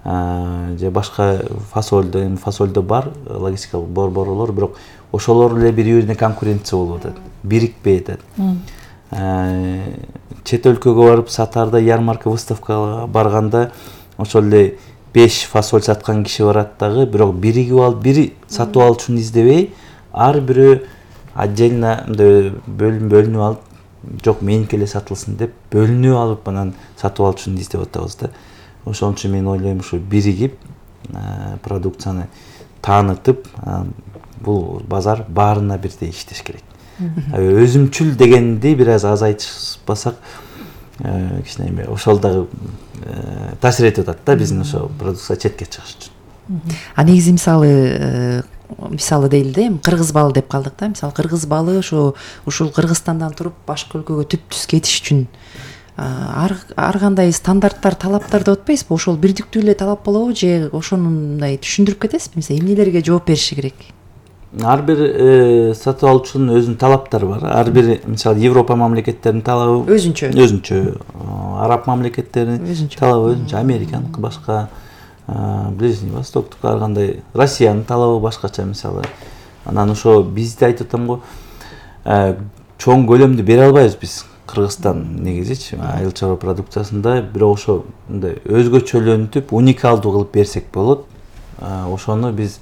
же башка фасолдо бар логистикалык борборлор, бирок ошолор эле бири-бирине конкуренция болуп атат, бирикпей атат. Чет өлкөгө барып сатарда, ярмарка, выставкага барганда ошол эле 5 фасоль саткан киши барат дагы, бирок биригип алып, бири сатып алуучуну издебей, ар бирөө отдельно бөлүнүп алып, жок меники эле сатылсын деп бөлүнүп алып анан сатып алуучуну издеп атабыз да. Ошон үчүн мен ойлойм, ушу биригип продукцияны таанытып, бул базар баарына бирдей иштеш керек. Өзүмчүл дегенди бир аз азайтышпасак, кичине ошол дагы таасир этип атат да биздин ошо продукция четке чыгыш үчүн. Негизи мисалы дейли да, кыргыз балы деп калдык да. Мисалы кыргыз балы ушул Кыргызстандан туруп башка өлкөгө түп-түз кетиш үчүн ар кандай стандарттар, талаптар деп атпайсызбы? Ошол бирдиктүү эле талап болобу же ошону мындай түшүндүрүп кетесизби? Мисалы эмнелерге жооп бериши керек? Ар бир сатып алуучунун өзүнүн талаптары бар. Ар бир мисалы Европа мамлекеттеринин талабы өзүнчө, араб мамлекеттеринин талабы өзүнчө, Американыкы башка, Ближний Востоктук ар кандай, Россиянын талабы башкача мисалы. Анан ошо бизди айтып атам го, чоң көлөмдү бере албайбыз биз Кыргызстан негизичи айыл чарба продукциясында, бирок ошо мындай өзгөчөлөнтүп, уникалдуу кылып берсек болот. Ошону биз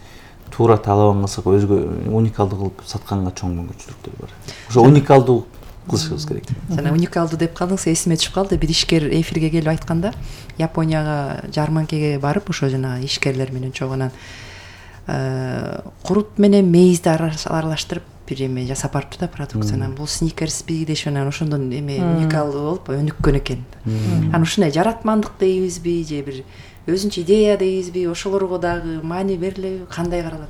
туура талабын кылсак, өзгө уникалдуу кылып сатканга чоң мүмкүнчүлүктөр бар. Ошо уникалдуу кылышыбыз керек. Жана уникалдуу деп калдыңыз, эсиме түшүп калды. Бир ишкер эфирге келип айтканда, Японияга жарманкеге барып, ошо жана ишкерлер менен чогуу анан курут менен мейизди аралаштырып бир эме жасап барыптыр да продукцияны. Бул сникерсби дешип анан ошондон эме уникалдуу болуп өнүккөн экен. Анан ушундай жаратмандык дейбизби же бир өзүнчө идея дейбизби, ошолорго дагы маани берилеби, кандай каралат?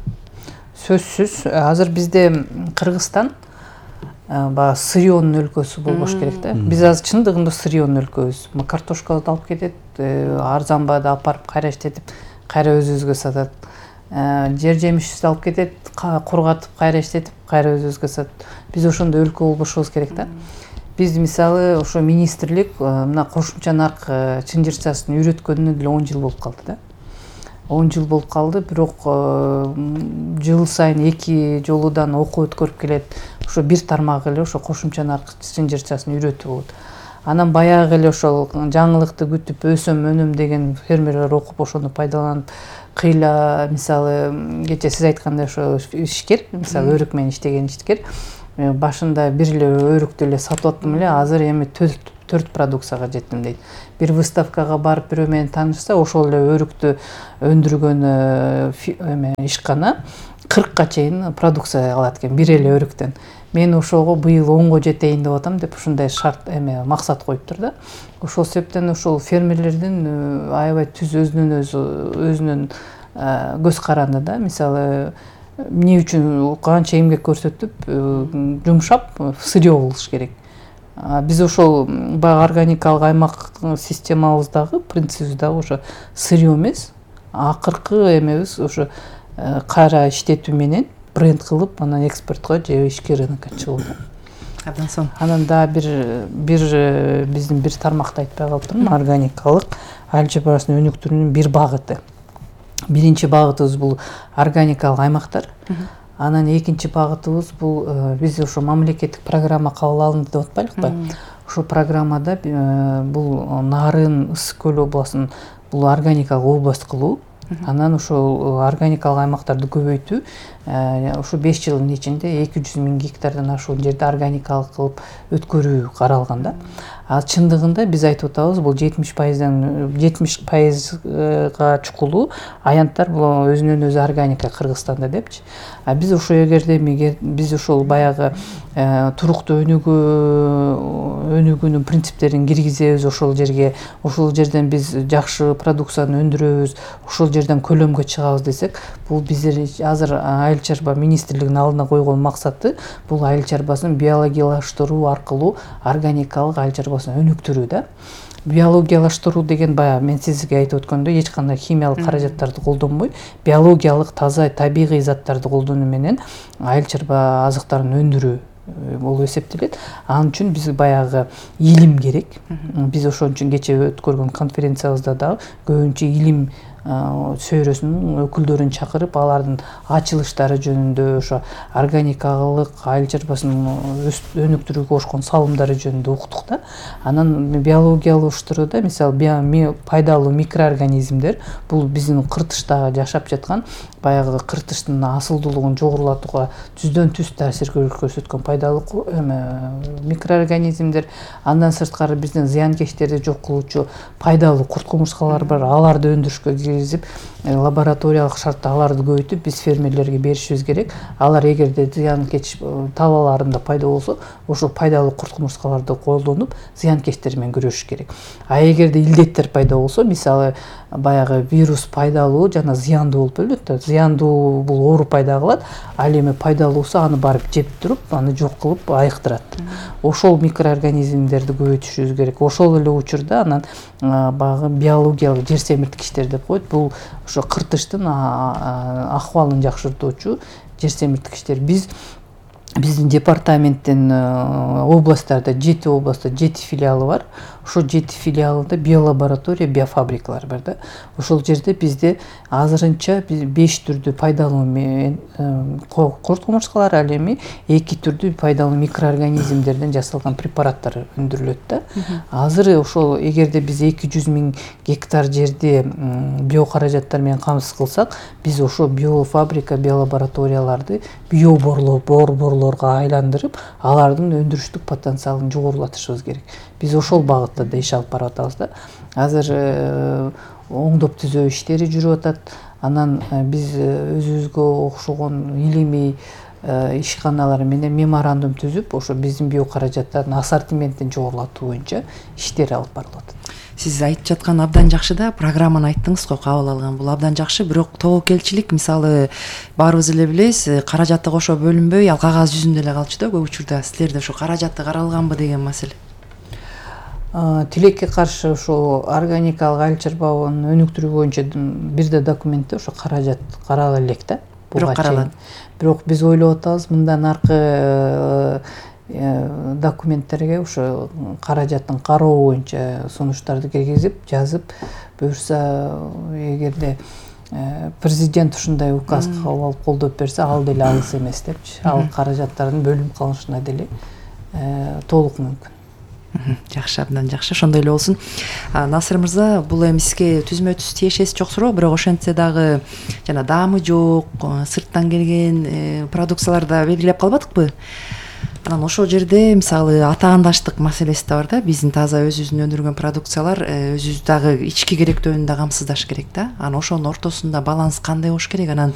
Сөзсүз азыр бизде Кыргызстан баягы сырьёнун өлкөсү болбош керек да. Биз азыр чындыгында сырьёнун өлкөбүз. Картошкаларды алып кетет, арзан баада алып барып кайра иштетип, кайра өзүбүзгө сатат. Жер жемишти алып кетет, кургатып, кайра иштетип, кайра өзүбүзгө сатат. Биз ошондой өлкө болбошубуз керек да. Биз мисалы ошо министрлик мына кошумча нарк чынжырчасын үйрөткөнүнө деле 10 жыл болуп калды да. 10 жыл болуп калды, бирок жыл сайын 2 жолудан окуу өткөрүп келет. Ошо бир тармак эле ошо кошумча нарк чынжырчасын үйрөтүү болот. Анан баягы эле ошол жаңылыкты күтүп өсөм өнөм деген фермерлер окуп ошону пайдаланып кыйла мисалы кечээ сиз айткандай ошо ишкер, мисалы өрүк менен иштеген ишкер башында бир эле өрүктү эле сатып аттым эле, азыр эми 4 продукцияга жеттим дейт. Бир выставкага барып бирөө менен таанышса, ошол эле өрүктү өндүргөн эме ишкана 40ка чейин продукция алат экен бир эле өрүктөн. Мен ошого быйыл 10го жетейин деп атам деп ушундай шарт эмне максат коюптур да. Ошол себептен ошол фермерлердин аябай түз өзүнүн көз каранды да. Мисалы эмне үчүн канча эмгек көрсөтүп жумшап сырьё болуш керек. Биз ошол баягы органикалык аймак системабыздагы принцибибиз дагы ошо сырьё эмес, акыркы эмебиз ошо кайра иштетүү менен бренд кылып, анан экспортко же ички рынокко чыгуу. Абдан сонун. Анан дагы бир биздин бир тармакты айтпай калыптырмын, органикалык айыл чарбасын өнүктүрүүнүн бир багыты. Биринчи багытыбыз бул органикалык аймактар. Анан экинчи багытыбыз бул биз ошо мамлекеттик программа кабыл алынды деп атпайлыкпы? Ошол программада бул Нарын, Ысык көл областын бул органикалык область кылуу. Анан ошол органикалык аймактарды көбөйтүү, ошо 5 жылдын ичинде 200 000 гектардан ашуун жерди органикалык кылып өткөрүү каралган да. А чындыгында биз айтып атабыз, бул 70%га чукулуу аянттар бул өзүнөн өзү органика Кыргызстанда депчи. А биз ошо эгерде биз ошол баягы туруктуу өнүгүүнүн принциптерин киргизебиз ошол жерге, ошол жерден биз жакшы продукцияны өндүрөбүз, ошол жерден көлөмгө чыгабыз десек, бул биздер азыр айыл чарба министрлигинин алдына койгон максаты бул айыл чарбасын биологиялаштыруу аркылуу органикалык айыл чарбасын өнүктүрүү да. Биологиялаштыруу деген баягы мен сизге айтып өткөндөй эч кандай химиялык каражаттарды колдонбой, биологиялык таза табигый заттарды колдонуу менен айыл чарба азыктарын өндүрүү болуп эсептелет. Анын үчүн биз баягы илим керек. Биз ошон үчүн кечээ өткөргөн конференциябызда дагы көбүнчө илим сөйрөсүнүн өкүлдөрүн чакырып, алардын ачылыштары жөнүндө, ошо органикалык айыл чарбасын өнүктүрүүгө кошкон салымдары жөнүндө уктук да. Анан биологиялаштырууда мисалы пайдалуу микроорганизмдер бул биздин кыртышта жашап жаткан баягы кыртыштын асылдуулугун жогорулатууга түздөн түз таасир көрсөткөн пайдалуу микроорганизмдер. Андан сырткары биздин зыянкечтерди жок кылуучу пайдалуу курт кумурскалар бар. Аларды өндүрүшкө киргизип, лабораториялык шартта аларды көбөйтүп биз фермерлерге беришибиз керек. Алар эгерде зыянкеч талааларында пайда болсо, ошол пайдалуу курт кумурскаларды колдонуп, зыянкечтер менен күрөшүш керек. А эгерде илдеттер пайда болсо, мисалы баягы вирус пайдалуу жана зыяндуу болуп бөлүнөт да. Зыяндуу бул оору пайда кылат, ал эми пайдалуусу аны барып жеп туруп, аны жок кылып айыктырат. Ошол микроорганизмдерди көбөйтүшүбүз керек. Ошол эле учурда анан баягы биологиялык жер семирткичтер деп коет. Бул ошо кыртыштын акыбалын жакшыртуучу жер семирткичтер. Биздин департаменттин областтарда 7 областта 7 филиалы бар. Ошол 7 филиалында биолаборатория, биофабрикалар бар да. Ошол жерде бизде азырынча 5 түрдүү пайдалуу курт кумурскалар, ал эми 2 түрдүү пайдалуу микроорганизмдерден жасалган препараттар өндүрүлөт да. Азыр ошол эгерде биз 200 000 гектар жерди биокаражаттар менен камсыз кылсак, биз ошо биофабрика, биолабораторияларды биоборлорго айландырып, алардын өндүрүштүк потенциалын жогорулатышыбыз керек. Биз ошол багытта да иш алып барып атабыз да. Азыр оңдоп түзөө иштери жүрүп атат. Анан биз өзүбүзгө окшогон илимий ишканалар менен меморандум түзүп, ошо биздин био каражаттардын ассортиментин жогорулатуу боюнча иштер алып барылып атат. Сиз айтып жаткан абдан жакшы да, программаны айттыңыз го, кабыл алган бул абдан жакшы. Бирок тобокелчилик мисалы баарыбыз эле билебиз, каражатты кошо бөлүнбөй, ал кагаз жүзүндө эле калчу да көп учурда. Силерде ошо каражатты каралганбы деген маселе? Тилекке каршы ошо органикалык айыл чарбалыгын өнүктүрүү боюнча бирде документте ошо каражат карала элек да. Бирок каралат. Бирок биз ойлоп атабыз, мындан аркы документтерге ошо каражаттын кароо боюнча сунуштарды киргизип, жазып, буюрса эгерде президент ушундай указ кабыл алып колдоп берсе, ал деле алыс эмес депчи. Ал каражаттардын бөлүнүп калышына деле толук мүмкүн. Жакшы, абдан жакшы. Ошондой эле болсун. Насыр мырза, бул эми сизге түзмө түз тиешеси жок суроо, бирок ошентсе дагы жана даамы жок, сырттан келген продукциялар да белгилеп калбадыкпы? Анан ошол жерде мисалы атаандаштык маселеси да бар да. Биздин таза өзүбүздүн өндүргөн продукциялар өзүбүз дагы ички керектөөнү да камсыздаш керек да. Анан ошонун ортосунда баланс кандай болуш керек? Анан